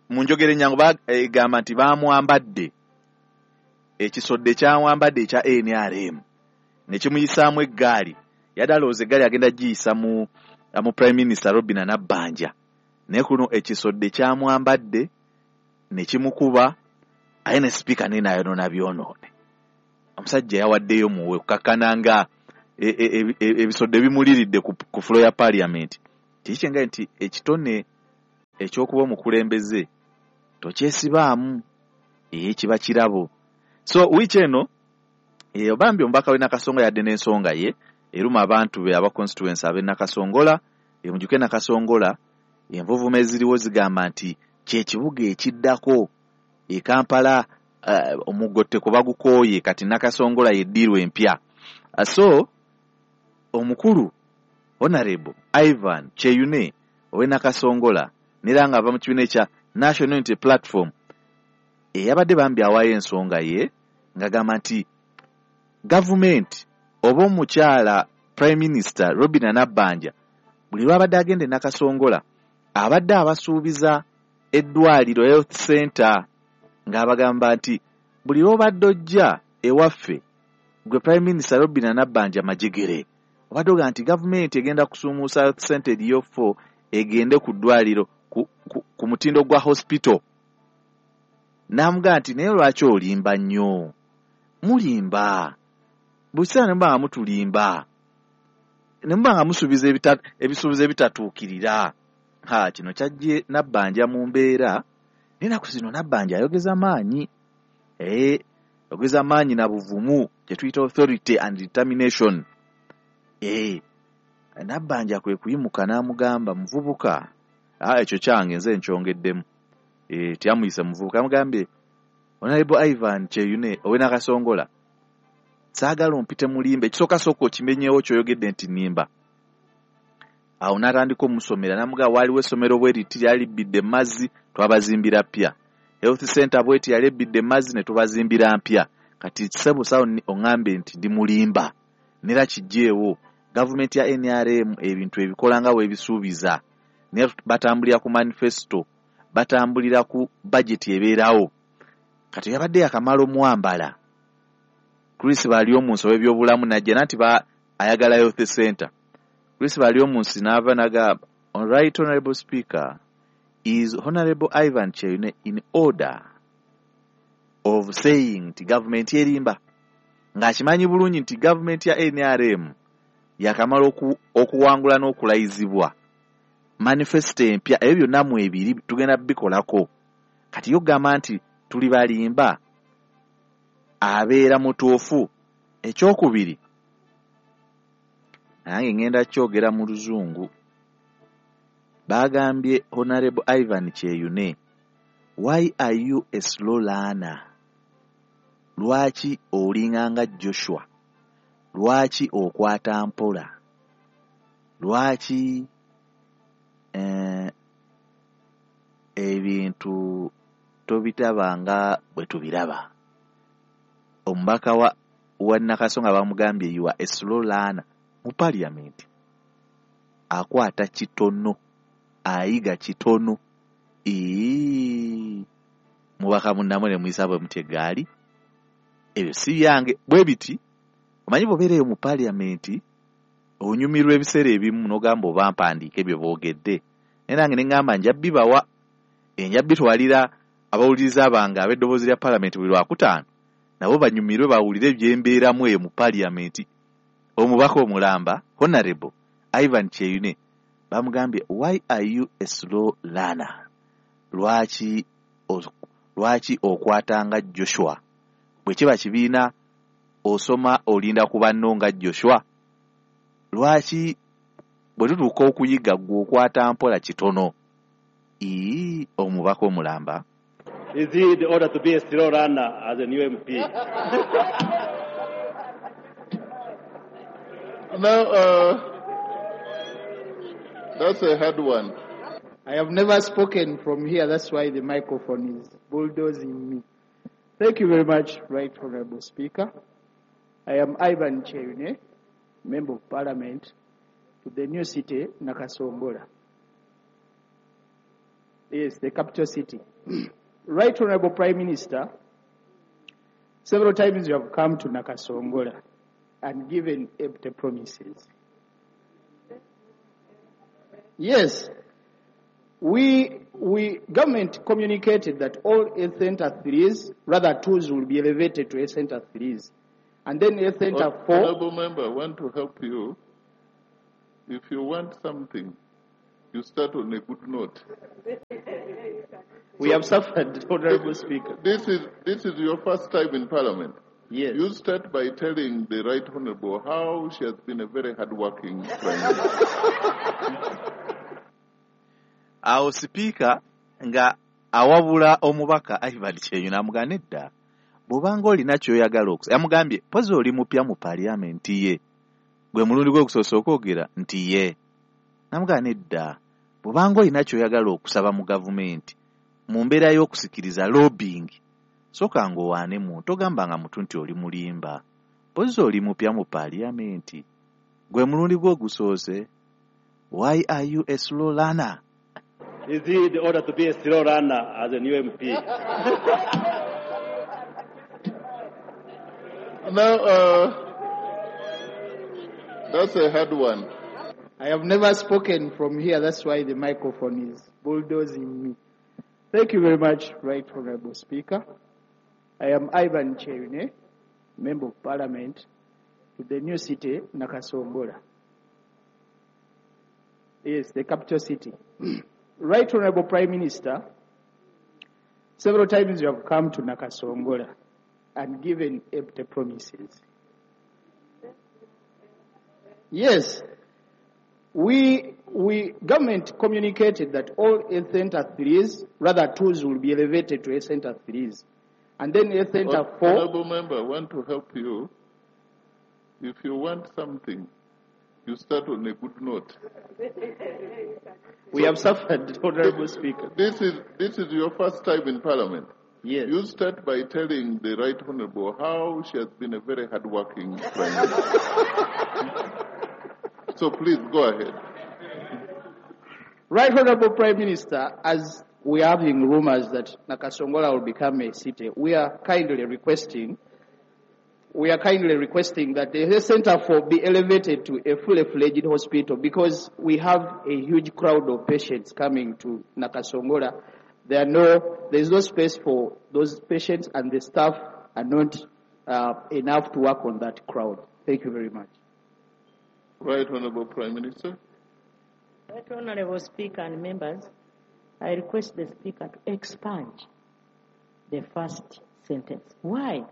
C: mu njogera ennyangu bagamba nti baamwambadde ekisodde kyamwambadde ekya N R M ne kimuyisaamu eggaali. Yadde alowooza eggaali agenda giyisa mu, mu Prime Minister Robinah Nabbanja, naye kuno ekisodde kyamwambadde ne kimukuba, aye ne sipiika naye n'ayonoona byonoone. Omusajja yawaddeyo muwe kukakkana nga ebisodde e, e, e, bimuliridde ku, ku fulo ya Parliament. Kiki kyengaye nti ekitone ekyokuba omukulembeze tokyesibaamu, ee kiba kirabo. So wiiki eno e, bambi omubaka w'e Nakasongola yadde n'ensonga ye eruma abantu be aba constituency ab'e Nakasongola. E, mujjuke Nakasongola envuvuma eziriwo zigamba nti kyekibuga ekiddako e Kampala, uh, omugotteko bagukooye, kati Nakasongola yeddiirwa empya. Uh, so omukulu Honorable Ivan Kyeyune ow'e Nakasongola nera nga ava mu kibiina ekya National Unity Platform eyabadde bambi awaayo ensonga ye ng'agamba nti gavumenti oba omukyala Prime Minister Robinah Nabbanja buli lw'abadde agenda e Nakasongola abadde abasuubiza eddwaliro health center, ng'abagamba nti buli lw'obadde ojja ewaffe gwe Prime Minister Robinah Nabbanja Majegere obadde ogamba nti gavumenti egenda kusuumuusa health center eriyo four egende ku ddwaliro ku, ku, ku mutindo gwa hospital. N'amugamba nti naye lwaki olimba nnyo, mulimba buli kiseera ne muba nga mutulimba ne muba nga musuubiza ebisuubizo ebitatuukirira. Ha, kino kyajje Nabbanja mu mbeera. N'ennaku zino Nabbanja ayogeza maanyi, ee ayogeza maanyi na buvumu, kye tuyita authority and determination. Ee Nabbanja kwe kuyimuka n'amugamba, muvubuka, ah, ekyo kyange nze nkyongeddemu. Eh, teyamuyise muvubuka, yamugambye Honorable Ivan Kyeyune ow'e Nakasongola, saagala ompite mulimba, ekisooka sooka okimenyewo ky'oyogedde nti nnimba. Awo n'atandika omusomera n'amugamba waaliwo essomero bwe riti lyali libbidde mazzi twabazimbira ppya, health center bweti yali ebbidde mazzi ne tubazimbira mpya, kati ssebo sawo oŋŋambe nti ndi mulimba, nera kiggyeewo. Gavumenti ya N R M ebintu ebikola nga bw'ebisuubiza, naye batambulira ku manifesto, batambulira ku budget ebeerawo. Kati yabadde yakamala omwambala Chris Baryomunsi ow'ebyobulamu n'ajja nanti ba ayagala health center. Chris Baryomunsi n'ava n'agamba, Right Honorable Speaker, is Honorable Ivan Kyeyune in order of saying nti gavumenti erimba, ng'akimanyi bulungi nti gavumenti ya N R M yakamala oku, okuwangula n'okulayizibwa manifesto empya, ebyo byonna mu ebiri tugenda bikolako. Kati yogamba nti tuli balimba, abeera mutuufu. Ekyokubiri, nange ngenda kyogera mu Luzungu, bagambye Honorable Ivan Kyeyune, why are you a slow learner? Lwaki olinganga Joshua? Lwaki okwata mpola? Lwaki eh, ebintu tobitabanga bwe tubiraba? Omubaka wa, wa Nakasonga bamugambye you are a slow learner. Mu parliament akwata kitono, ayiga kitono. Ii, mubaka munnamwe ne muyisa bwe mutya eggaali, ebyo si byange. Bwe biti omanyi bw'obeera eyo mu parliament onyumirwa ebiseera ebimu n'ogamba oba mpandiika ebyo boogedde, naye nange ne ŋŋamba nja bibawa, nja bitwalira abawuliriza bange ab'eddoboozi lya parliament buli lwakutaano, nabo banyumirwe bawulire byembeeramu eyo mu parliament. Omubaka omulamba Honorable Ivan Kyeyune bamugambye, why are you a slow learner? Lwaki lwaki okwatanga Joshua? Bwe kiba kibiina osoma olinda ku banno nga Joshua. Lwaki bwe tutuuka okuyiga ggwe okwata mpola kitono? Ii, omubaka omulamba.
L: Is it the order to be a slow learner as a new M P?
M: Now, uh, that's a hard one.
B: I have never spoken from here, that's why the microphone is bulldozing me. Thank you very much, Right Honorable Speaker. I am Ivan Kyeyune, Member of Parliament to the new city, Nakasongola. Yes, the capital city. Right Honorable Prime Minister, several times you have come to Nakasongola and given empty promises. Yes, we, we government communicated that all health center threes, rather twos, will be elevated to health center threes. And then health center four.
M: Honorable member, I want to help you. If you want something, you start on a good note.
B: We so, have suffered, Honorable Speaker.
M: This is, this is your first time in Parliament.
B: Yes.
M: You start by telling the Right Honorable how she has been a very hardworking prime minister.
C: Awo Speaker nga awabula omubaka Ivan Kyeyune amugamba nedda, bw'obanga olina ky'oyagala okusa, yamugambye pozi oli mupya mu parliament ye, gwe mulundi gwe ogusoose okwogera nti ye. Namugamba nedda, bw'obanga olina ky'oyagala okusaba mu gavumenti mu mbeera y'okusikiriza lobbying, sooka ng'owaane muntu, ogambanga mutu nti oli mulimba, pozi oli mupya mu parliament, gwe mulundi gwe ogusoose. Why are you a slow learner?
L: Is it the order to be a slow learner as a new M P?
M: Now, uh, that's a hard one.
B: I have never spoken from here, that's why the microphone is bulldozing me. Thank you very much, Right Honorable Speaker. I am Ivan Kyeyune, Member of Parliament to the new city, Nakasongola. Yes, the capital city. Right Honorable Prime Minister, several times you have come to Nakasongola and given empty promises. Yes, We, we, government communicated that all health center threes, rather twos, will be elevated to health center threes. And then health center four.
M: Honorable member, I want to help you. If you want something, you start on a good note.
B: We so, have suffered, Honorable Speaker.
M: This is, this is your first time in Parliament.
B: Yes.
M: You start by telling the Right Honorable how she has been a very hardworking Prime Minister. So please go ahead.
B: Right Honorable Prime Minister, as we are having rumors that Nakasongola will become a city, we are kindly requesting, we are kindly requesting that the health center for be elevated to a fully fledged hospital, because we have a huge crowd of patients coming to Nakasongola. There are no, there is no space for those patients, and the staff are not uh, enough to work on that crowd. Thank you very much.
M: Right Honorable Prime Minister.
N: Right Honorable Speaker and members, I request the Speaker to expunge the first sentence. Why?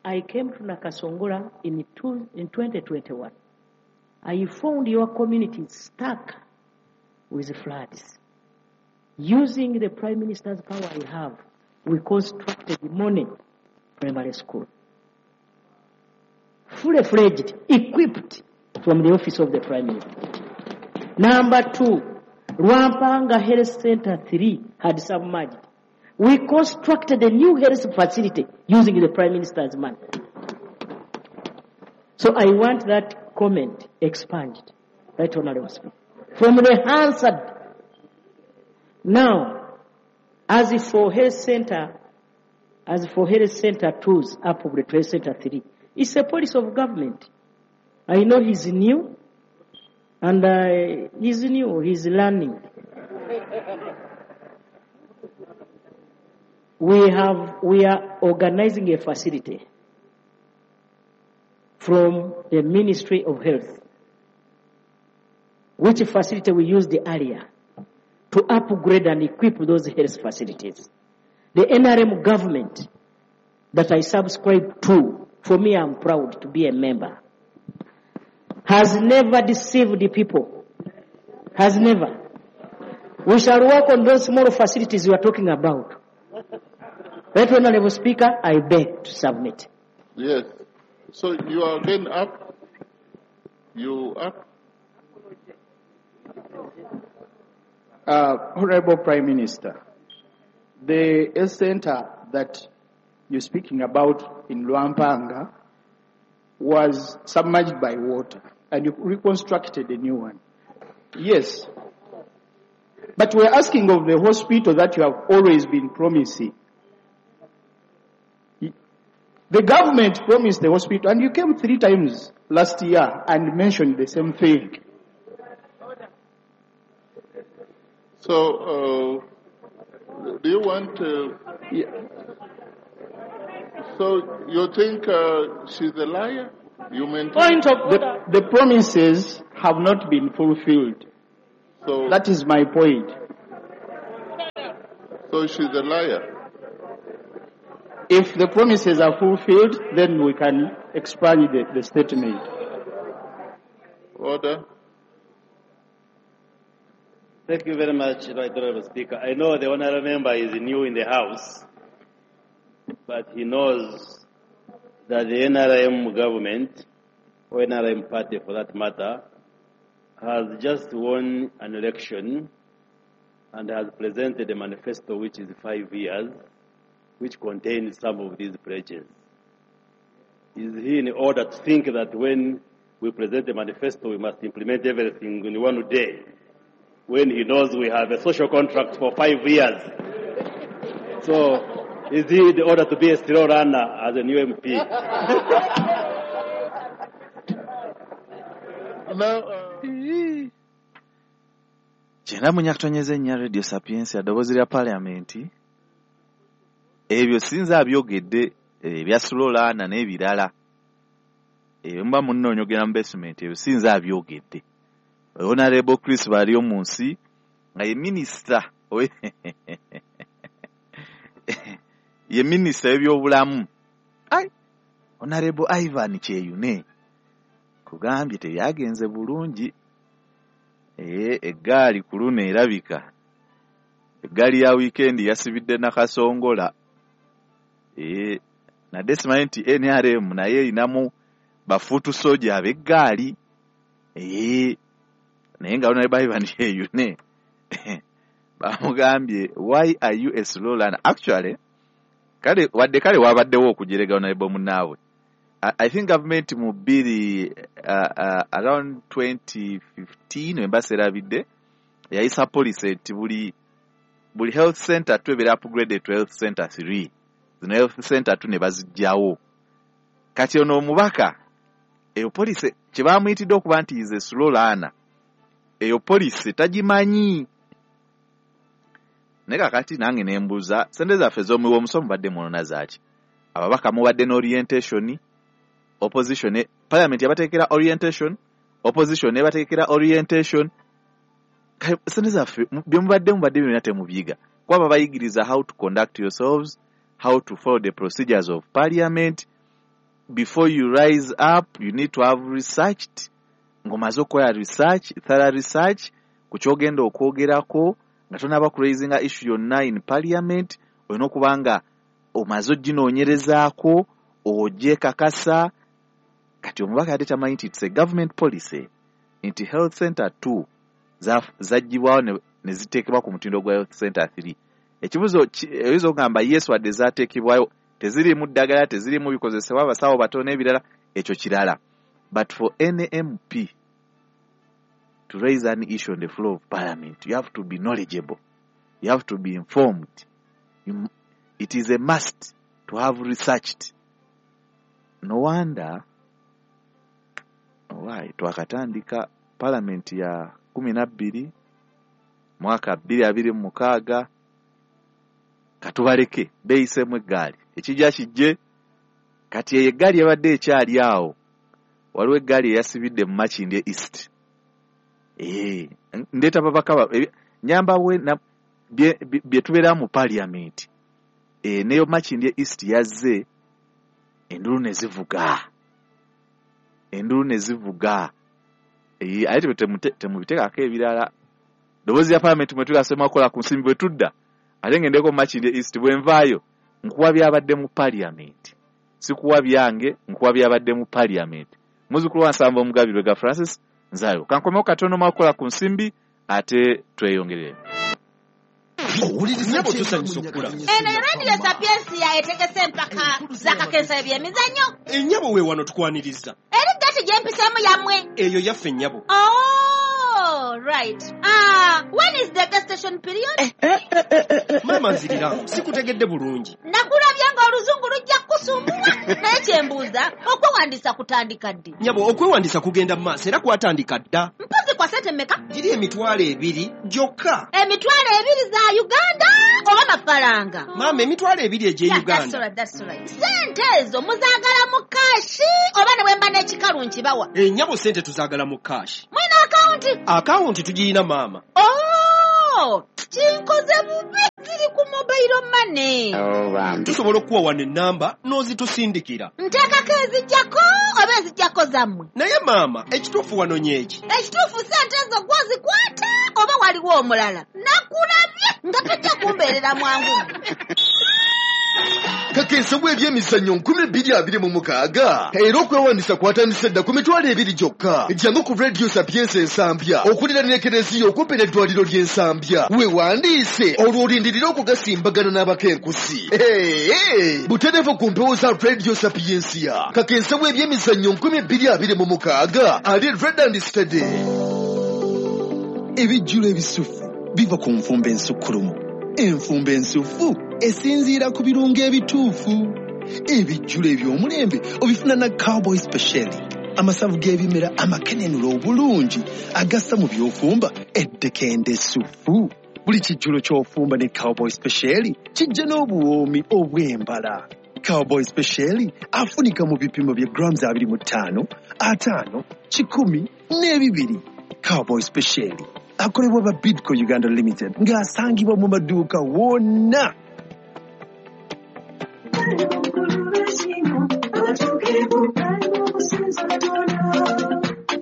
N: I came to Nakasongola in, two, in twenty twenty-one. I found your community stuck with floods. Using the Prime Minister's power I have, we constructed the Mone Primary School. Fully fledged, equipped from the office of the Prime Minister. Number two, Rwampanga Health Center three had submerged. We constructed a new health facility using the Prime Minister's money. So I want that comment expunged, Right Honorable Speaker, from the Hansard. Now, as for health center, as for health center twos, up to health center three, it's a policy of government. I know he's new, and uh, he's new, he's learning. We have, we are organizing a facility from the Ministry of Health, which facility we used earlier to upgrade and equip those health facilities. The N R M government that I subscribe to, for me I'm proud to be a member, has never deceived the people. Has never. We shall work on those small facilities you are talking about. Right Honorable Speaker, I beg to submit.
M: Yes. So you are again up. You up.
B: Uh, Honorable Prime Minister, the health center that you're speaking about in Lwampanga was submerged by water, and you reconstructed a new one. Yes. But we're asking of the hospital that you have always been promising. The government promised the hospital, and you came three times last year and mentioned the same thing.
M: So, uh, do you want to...
B: Yeah.
M: So, you think uh, she's a liar? You maintain...
B: Point of the, the promises have not been fulfilled.
M: So
B: that is my point.
M: So she's a liar.
B: If the promises are fulfilled, then we can expand the, the statement.
M: Order.
L: Thank you very much, Right Honorable Speaker. I know the Honorable Member is new in the House, but he knows that the N R M government, or N R M party for that matter, has just won an election and has presented a manifesto which is five years, which contains some of these pledges. Is he in order to think that when we present the manifesto, we must implement everything in one day, when he knows we have a social contract for five years? So, is he in order to be a slow runner as a new M P?
M: Now, uh...
C: Kyenda munyakutonyeza ennya Radio Sapientia ddoboozi lya Parliament. Ebyo sinza abyogedde ebya slow learner n'ebirala. Ebyo mba munnoonyogera mu basement, ebyo sinza abyogedde. Honorable Chris Baryomunsi nga ye minister ye minister w'ebyobulamu. Ai, Honorable Ivan Kyeyune kugambye tebyagenze bulungi. Eh, eggaali ku luno erabika eggaali ya wiikendi yasibidde Nakasongola. Eh, nadde simanyi nti N R M naye erinamu bafuutu soja ab'eggaali. Eh, naye nga Honorable Ivan Kyeyune bamugambye, why are you a slow learner? Actually, kale wadde kale wabaddewo okujerega Honorable munnaabwe. I, I think government mu bbiri uh, uh, around twenty fifteen wemba serabidde yayisa policy nti buli buli health center two ebeera upgraded to health center three. Zino health center two ne baziggyawo. Kati ono omubaka eyo policy kye bamuyitidde okuba nti is a slow learner, eyo policy tagimanyi. Naye kakati nange ne mbuuza, ssente zaffe ez'omuwi w'omusolo mubadde mwonona zaaki? Ababaka mubadde n'orientation, opposition, parliament yabateekera orientation, opposition nebateekera orientation. Kale ssente zaffe bye mubadde mubadde byonna temubiyiga. Kuba babayigiriza how to conduct yourselves, how to follow the procedures of parliament. Before you rise up, you need to have researched. Ng'omaze okukola research, thorough research, ku ky'ogenda okwogerako, nga tonaba kuraisinga issue yonna in parliament, olina okuba nga omaze oginoonyerezaako, ogyekakasa. Kati omubaka yadde tamanyi nti it's a government policy nti health center two zaggyibwawo ne, ne ziteekebwa ku mutindo gwa health center three. Ekibuuzo oyinza okugamba yes, wadde zaateekebwayo teziriimu ddagala, teziriimu bikozesebwa, abasawo batono n'ebirala, ekyo kirala. But for any M P to raise an issue on the floor of parliament, you have to be knowledgeable, you have to be informed. You, it is a must to have researched. No wonder why twakatandika parliament ya kumi na bbiri mwaka bbiri abiri mu mukaaga, katubaleke beeyiseemu eggaali, ekijja kijje. Kati eyo eggaali ebadde ekyali awo, waliwo eggaali eyasibidde mu Makindye East. Eh, ndeeta babaka nyamba we bye, bye tubeera mu parliament. Eh, neyo Makindye East yazze, endulu ne zivuga, endulu ne zivuga. Eh, ate temubiteekako ebirala. Ddoboozi lya parliament mwe tugasoma okukola ku nsimbi bwe tudda, ate ngendeko mu Makindye East bwe nvaayo nkuwa byabadde mu parliament, sikuwa byange, nkuwa byabadde mu parliament. Muzzukulu wa Nsamba Omugabi Lwega Francis Nzayo. Kankomewo katono mwakola ku nsimbi ate tweyongerere.
A: Nnyabo tusanyusa okukula.
E: Eno Radio Sapiensia etegese empaka z'akakensa eby'emizannyo.
A: Ennyabo we wano tukwaniriza.
E: Eri gati gye mpiseemu yammwe.
A: Eyo yaffe nnyabo.
E: Oh, right. Ah, when is the gestation period?
A: Eh, eh, eh, eh, eh. Maama nzirira, sikutegedde bulungi.
E: Nakulabye ng'oluzungu lujja kukusumbuwa. Naye kye mbuuza, okwewandiisa kutandika ddi?
A: Nnyabo, okwewandiisa kugenda mu maaso era kwatandika dda.
E: Mpozi kwa ssente mmeka?
A: Giri emitwalo ebiri gyokka.
E: Emitwalo ebiri za Uganda oba mafaranga?
A: Maama, emitwalo ebiri egy'e
E: Yeah,
A: Uganda.
E: that's all right, that's all right. Ssente ezo muzaagala mu kaashi oba ne bwe mba n'ekikalu nkibawa?
A: Ennyabo ssente tuzaagala mu kaashi.
E: Mulina akawunti?
A: Akawunti tugirina maama.
E: Oh, kinkoze bubi, ziri ku mobile money.
A: Oh, tusobola okuwa wano ennamba n'ozitusindikira.
E: Nteekako ezijjako oba ezijjako zammwe?
A: Naye maama, ekituufu wano nyeeki.
E: Ekituufu ssente ezo gw'ozikwata oba waliwo omulala? Nakulabye nga tojja kumbeerera mwangu.
F: Kakensa bw'ebyemizannyo nkumi bbiri abiri mu mukaaga era okwewandiisa kwatandise dda ku mitwalo ebiri gyokka. Jangu ku Radio Sapiensia Ensambya okuliraana Ekereziya okumpi n'eddwaliro ly'Ensambya, weewandiise olwo olindirire okugasimbagana n'abakenkusi. Hey, butereevu ku mpewo za Radio Sapiensia. Kakensa bw'ebyemizannyo nkumi bbiri abiri mu mukaaga ali red and steady.
O: Ebijjulo ebisufu biva ku nfumba ensukkulumu. Enfumba ensufu esinziira ku birungo ebituufu. Ebijjulo eby'omulembe obifuna na Cowboy Special, amasavu g'ebimera amakenenula obulungi agassa mu by'ofumba eddekende essufu. Buli kijjulo ky'ofumba ne Cowboy Special kijja n'obuwoomi obw'embala. Cowboy Special afunika mu bipimo bya grams abiri mu ttaano, ataano, kikumi n'ebibiri. Cowboy Special akolebwa ba Bidco Uganda Limited ng'asangibwa mu maduuka wonna.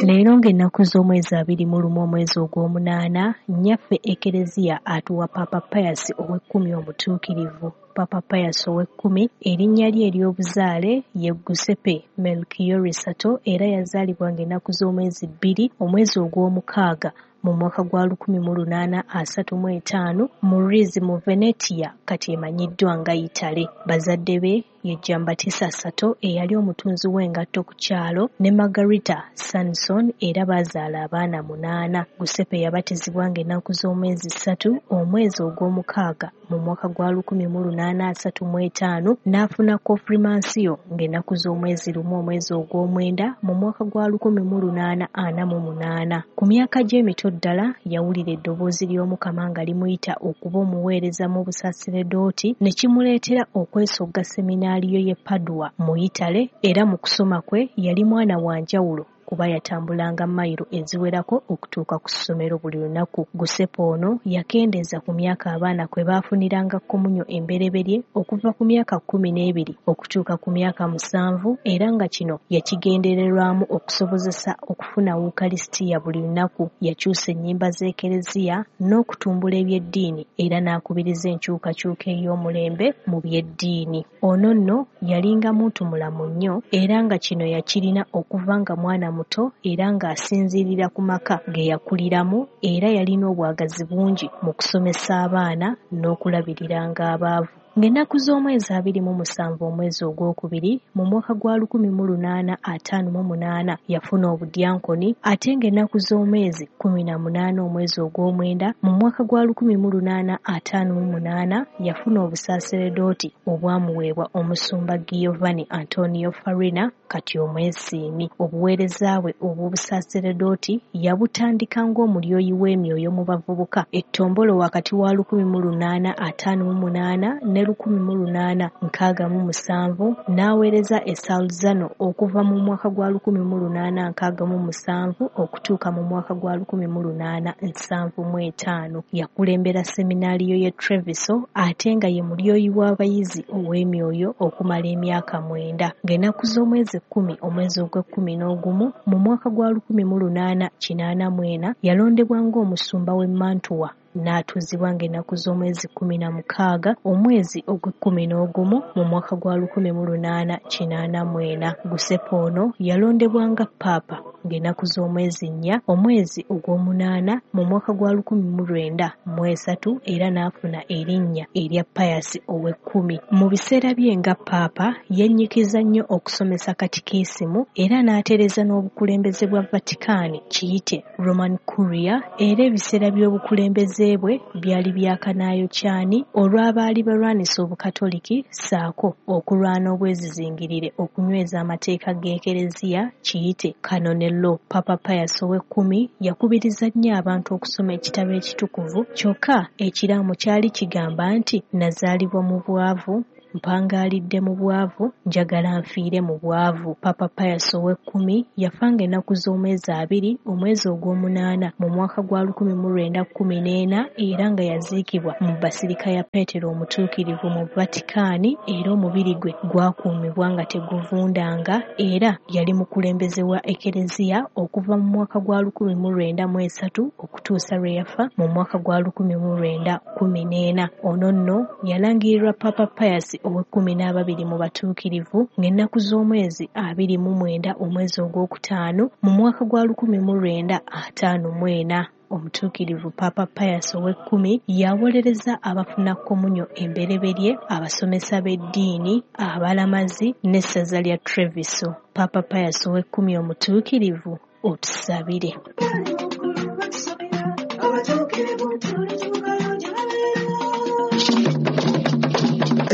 I: Leero Leero ng'ennaku z'omwezi abiri mu lumu omwezi ogw'omunaana, nnyaffe Ekereziya atuwa Paapa Pius ow'ekkumi omutuukirivu. Paapa Pius ow'ekkumi erinnya lye ery'obuzaale ye Giuseppe Melchiorre Sarto era yazaalibwa ng'ennaku z'omwezi bbiri omwezi ogw'omukaaga mu mwaka gwa lukumi mu lunaana asatu mu etaano mu Rizzi mu Venetia kati emanyiddwa nga Italy. Bazadde be ye Giambattista Sarto eyali omutunzi w'engatto ku kyalo ne Margherita Sanson era baazaala abaana munaana. Giuseppe yabatizibwa ng'ennaku z'omwezi ssatu omwezi ogw'omukaaga mu mwaka gwa lukumi mu lunaana asatu mu etaano n'afuna konfirmansiyo ng'ennaku z'omwezi lumu omwezi ogw'omwenda mu mwaka gwa lukumi mu lunaana ana mu munaana. Ku myaka gye emito ddala yawulira eddoboozi ly'Omukama nga limuyita okuba omuweereza mu busaserdoti ne kimuleetera okwesogga seminaariyo y'e Padua mu Italy era mu kusoma kwe yali mwana wa njawulo kuba yatambulanga mayiro eziwerako okutuuka ku ssomero buli lunaku. Giuseppe ono yakendeeza ku myaka abaana kwe baafuniranga komunyo embereberye okuva ku myaka kkumi n'ebiri okutuuka ku myaka musanvu era nga kino yakigendererwamu okusobozesa okufuna Wukalisitiya buli lunaku. Yakyusa ennyimba z'Ekereziya n'okutumbula eby'eddiini era n'akubiriza enkyukakyuka ey'omulembe mu by'eddiini. Ono nno yalinga muntu mulamu nnyo era nga kino yakirina okuva nga mwana muto era ng'asinziirira ku maka ge yakuliramu era yalina obwagazi bungi mu kusomesa abaana n'okulabiriranga abaavu. Ng'ennaku z'omwezi abiri mu musanvu omwezi ogwokubiri mu mwaka gwa lukumi mu lunaana ataano mu munaana yafuna obudyankoni ate ng'ennaku z'omwezi kkumi na munaana omwezi ogw'omwenda mu mwaka gwa lukumi mu lunaana ataano mu munaana yafuna obusaaseredooti obwamuweebwa omusumba Giovanni Antonio Farina kati omwesiimi. Obuweereza bwe obw'obusaaseredooti yabutandika ng'omulyoyi w'emyoyo mu bavubuka ettombolo wakati wa lukumi mu lunaana ataano mu munaana ne lukumi mu lunaana nkaaga mu musanvu n'aweereza e Salzano okuva mu mwaka gwa lukumi mu lunaana nkaaga mu musanvu okutuuka mu mwaka gwa lukumi mu lunaana nsanvu mu etaano. Yakulembera seminaariyo y'e Treviso ate nga ye mulyoyi w'abayizi ow'emyoyo okumala emyaka mwenda. Ng'ennaku z'omwezi kkumi omwezi ogw'ekkumi n'ogumu mu mwaka gwa lukumi mu lunaana kinaana mu ena yalondebwa ng'omusumba w'e Mantua n'atuuzibwa ng'ennaku z'omwezi kkumi na mukaaga omwezi ogw'ekkumi n'ogumu mu mwaka gwa lukumi mu lunaana kinaana mu ena. Giuseppe ono yalondebwa nga Paapa ng'ennaku z'omwezi nnya omwezi ogw'omunaana mu mwaka gwa lukumi mu lwenda mu esatu era n'afuna erinnya erya Pius ow'ekkumi. Mu biseera bye nga Paapa yennyikiza nnyo okusomesa katikisimu era n'atereeza n'obukulembeze bwa Vatican kiyite Roman Curia era ebiseera by'obukulembeze bwe byali byakanaayokyani olw'abaali balwanisa obukatoliki ssaako okulwana obwezizingirire okunyweza amateeka g'Ekereziya kiyite Canon Law. Papa Pius ow'ekkumi yakubiriza nnyo abantu okusoma ekitabo ekitukuvu kyokka ekiraamo kyali kigamba nti nazaalibwa mu bwavu, mpangaalidde mu bwavu, njagala nfiire mu bwavu. Papa Pius ow'ekkumi yafanga ennaku z'omwezi abiri omwezi ogw'omunaana mu mwaka gwa lukumi mu lwenda kkumi n'ena era nga yaziikibwa mu Basirika ya Peetero Omutuukirivu mu Vatikaani era omubiri gwe gwakuumibwa nga teguvundanga era yali mukulembeze wa Ekereziya okuva mu mwaka gwa lukumi mu lwenda mu esatu okutuusa lwe yafa mu mwaka gwa lukumi mu lwenda kkumi n'ena. Ono nno yalangirirwa Papa Pius ow'ekkumi n'ababiri mu batuukirivu ng'ennaku z'omwezi abiri mu mwenda omwezi ogwokutaano mu mwaka gwa lukumi mu lwenda ataano mu ena. Omutuukirivu Papa Pius ow'ekkumi yawolereza abafuna komunyo embereberye, abasomesa b'eddiini, abalamazi n'essaza lya Treviso. Papa Pius ow'ekkumi omutuukirivu otusabire.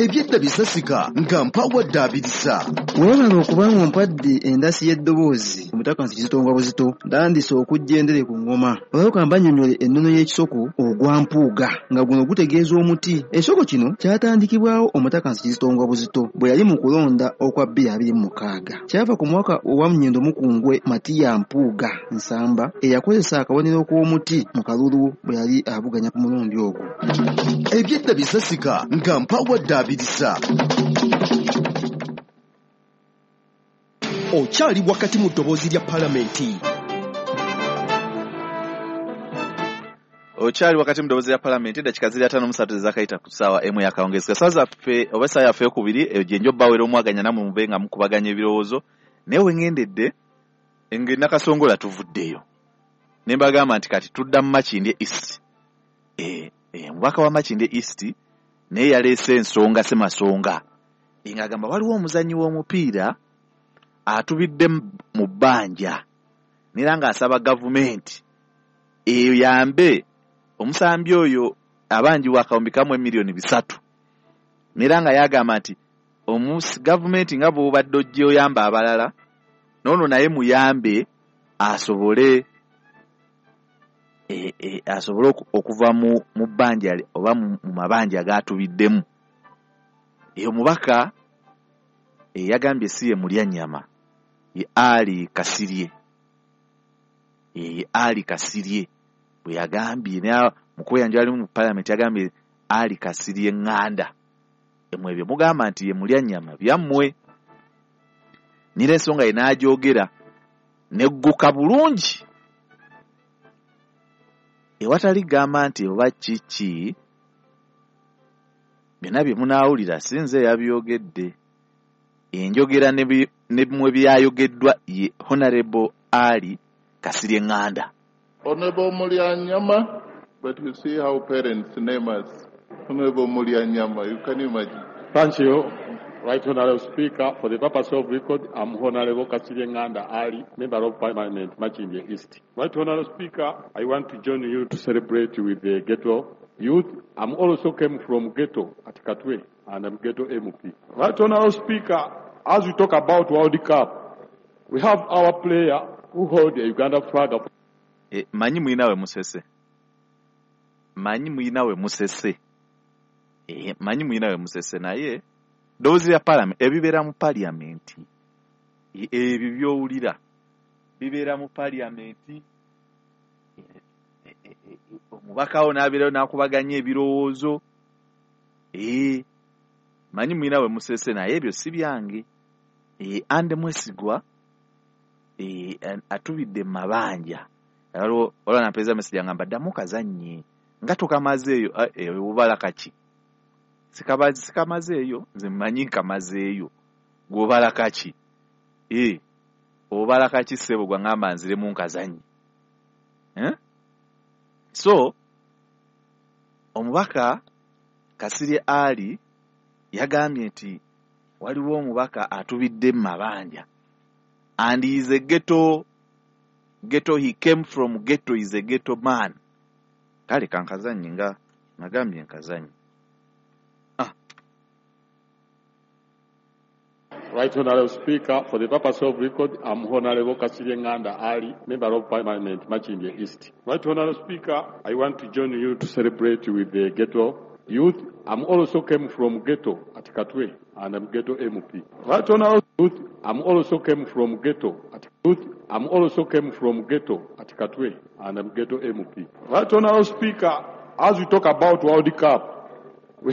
F: Ebyedda bisasika nga mpawadde abirisa.
P: Weebale okubanga ompadde endasi y'eddoboozi omutaka nsi kizito buzito ndandise okujja endere ku ngoma. Olwoka mbannyonnyole ennono y'ekisoko ogwa mpuuga nga guno gutegeeza omuti. Ekisoko kino kyatandikibwawo omutaka nsi kizito buzito bwe yali mu kulonda okwa bbiri abiri mu mukaaga. Kyava ku mwaka owa Munyendo Mukungwe Matiya Mpuuga Nsamba eyakozesa akabonero k'omuti mu kalulu bwe yali avuganya ku mulundi ogwo.
F: Ebyedda bisasika nga mpawadde abirisa.
A: Okyali wakati mu ddoboozi lya Palamenti.
C: Okyali wakati mu ddoboozi lya Palamenti, eddakiika ziri ataano mu ssatu ezakayita ku ssaawa emu y'akawungeezi. Kasaawa zaffe oba essaawa yaffe eyokubiri eyo gye nja obbawera omwaganya nammwe mube nga mukubaganya ebirowoozo. Naye we ŋŋendedde nge Nakasongola tuvuddeyo ne mbagamba nti kati tudda mu Makindye East. Eh, eh, omubaka wa Makindye East naye yaleese ensonga ssemasonga ng'agamba waliwo omuzannyi w'omupiira atubidde mu bbanja era ng'asaba gavumenti eyambe omusambi oyo abanjibwa akawumbi kamu emiliyoni bisatu, era nga yagamba nti gavumenti nga bw'obadde ojja oyamba abalala n'ono naye muyambe asobole e, e, asobole okuva mu, mu bbanja oba mu, mu mabanja agatubiddemu. Eyo mubaka e, yagambye si ye Mulyannyama, ye Ali Kasirye. E, Ali Kasirye bwe yagambye naye mu kweyanjula ali mu Palamenti yagambye Ali Kasirye Ŋŋanda. Emwe ebyo mugamba nti ye Mulyannyama byammwe. Nira ensonga ye n'agyogera negguka bulungi ewatali gamba nti oba kiki byonna bye munaawulira si nze yabyogedde. Enjogera ne bimwe byayogeddwa ye Honorable Ali Kasirye Ŋŋanda.
M: Honorable Mulyanyama, but you see how parents name us. Honorable Mulyanyama, you can imagine.
Q: Thank you, Right Honorable Speaker. For the purpose of record, I'm Honorable Kasirye Ŋŋanda Ali, Member of Parliament, Makindye East. Right Honorable Speaker, I want to join you to celebrate with the ghetto youth. I'm also came from ghetto at Katwe, and I'm ghetto M P. Right Honorable Speaker, as we talk about World Cup, we have our player who hold the Uganda flag up.
C: E, manyi mwina we musese. Manyi mwina we musese. E, manyi mwina we musese naye ddoboozi lya Palamenti ebibeera mu Palamenti ebyo by'owulira bibeera mu Palamenti. Omubaka wo n'abeerayo n'akubaganya ebirowoozo. E, manyi mwina we musese naye ebyo si byange. E, Ande Mwesigwa e, atubidde mu mabanja. Waliwo waliwo nampeereza message angamba ddamu kazannye nga tokamazeeyo. Obala kaki? Sikamazeeyo, nze mmanyi nkamazeeyo. Gw'obala kaki? Eh, obala kaki ssebo gw'angamba nziremu nkazannye? Eh? So omubaka Kasirye Ali yagambye nti waliwo omubaka atubidde mu mabanja and he is a ghetto ghetto, he came from ghetto, is a ghetto man. Kale kankazannye nga nagambye nkazannye. Ah.
Q: Right Honorable Speaker, for the purpose of record, I'm Honorable Kasirye Ŋŋanda Ali, Member of Parliament, Makindye East. Right Honorable Speaker, I want to join you to celebrate with the ghetto youth. I'm also came from ghetto at Katwe, and I'm ghetto M P. Right Honorable Youth, I'm also came from ghetto at Youth, I'm also came from ghetto at Katwe, and I'm ghetto M P. Right Honorable Speaker, as we talk about World Cup,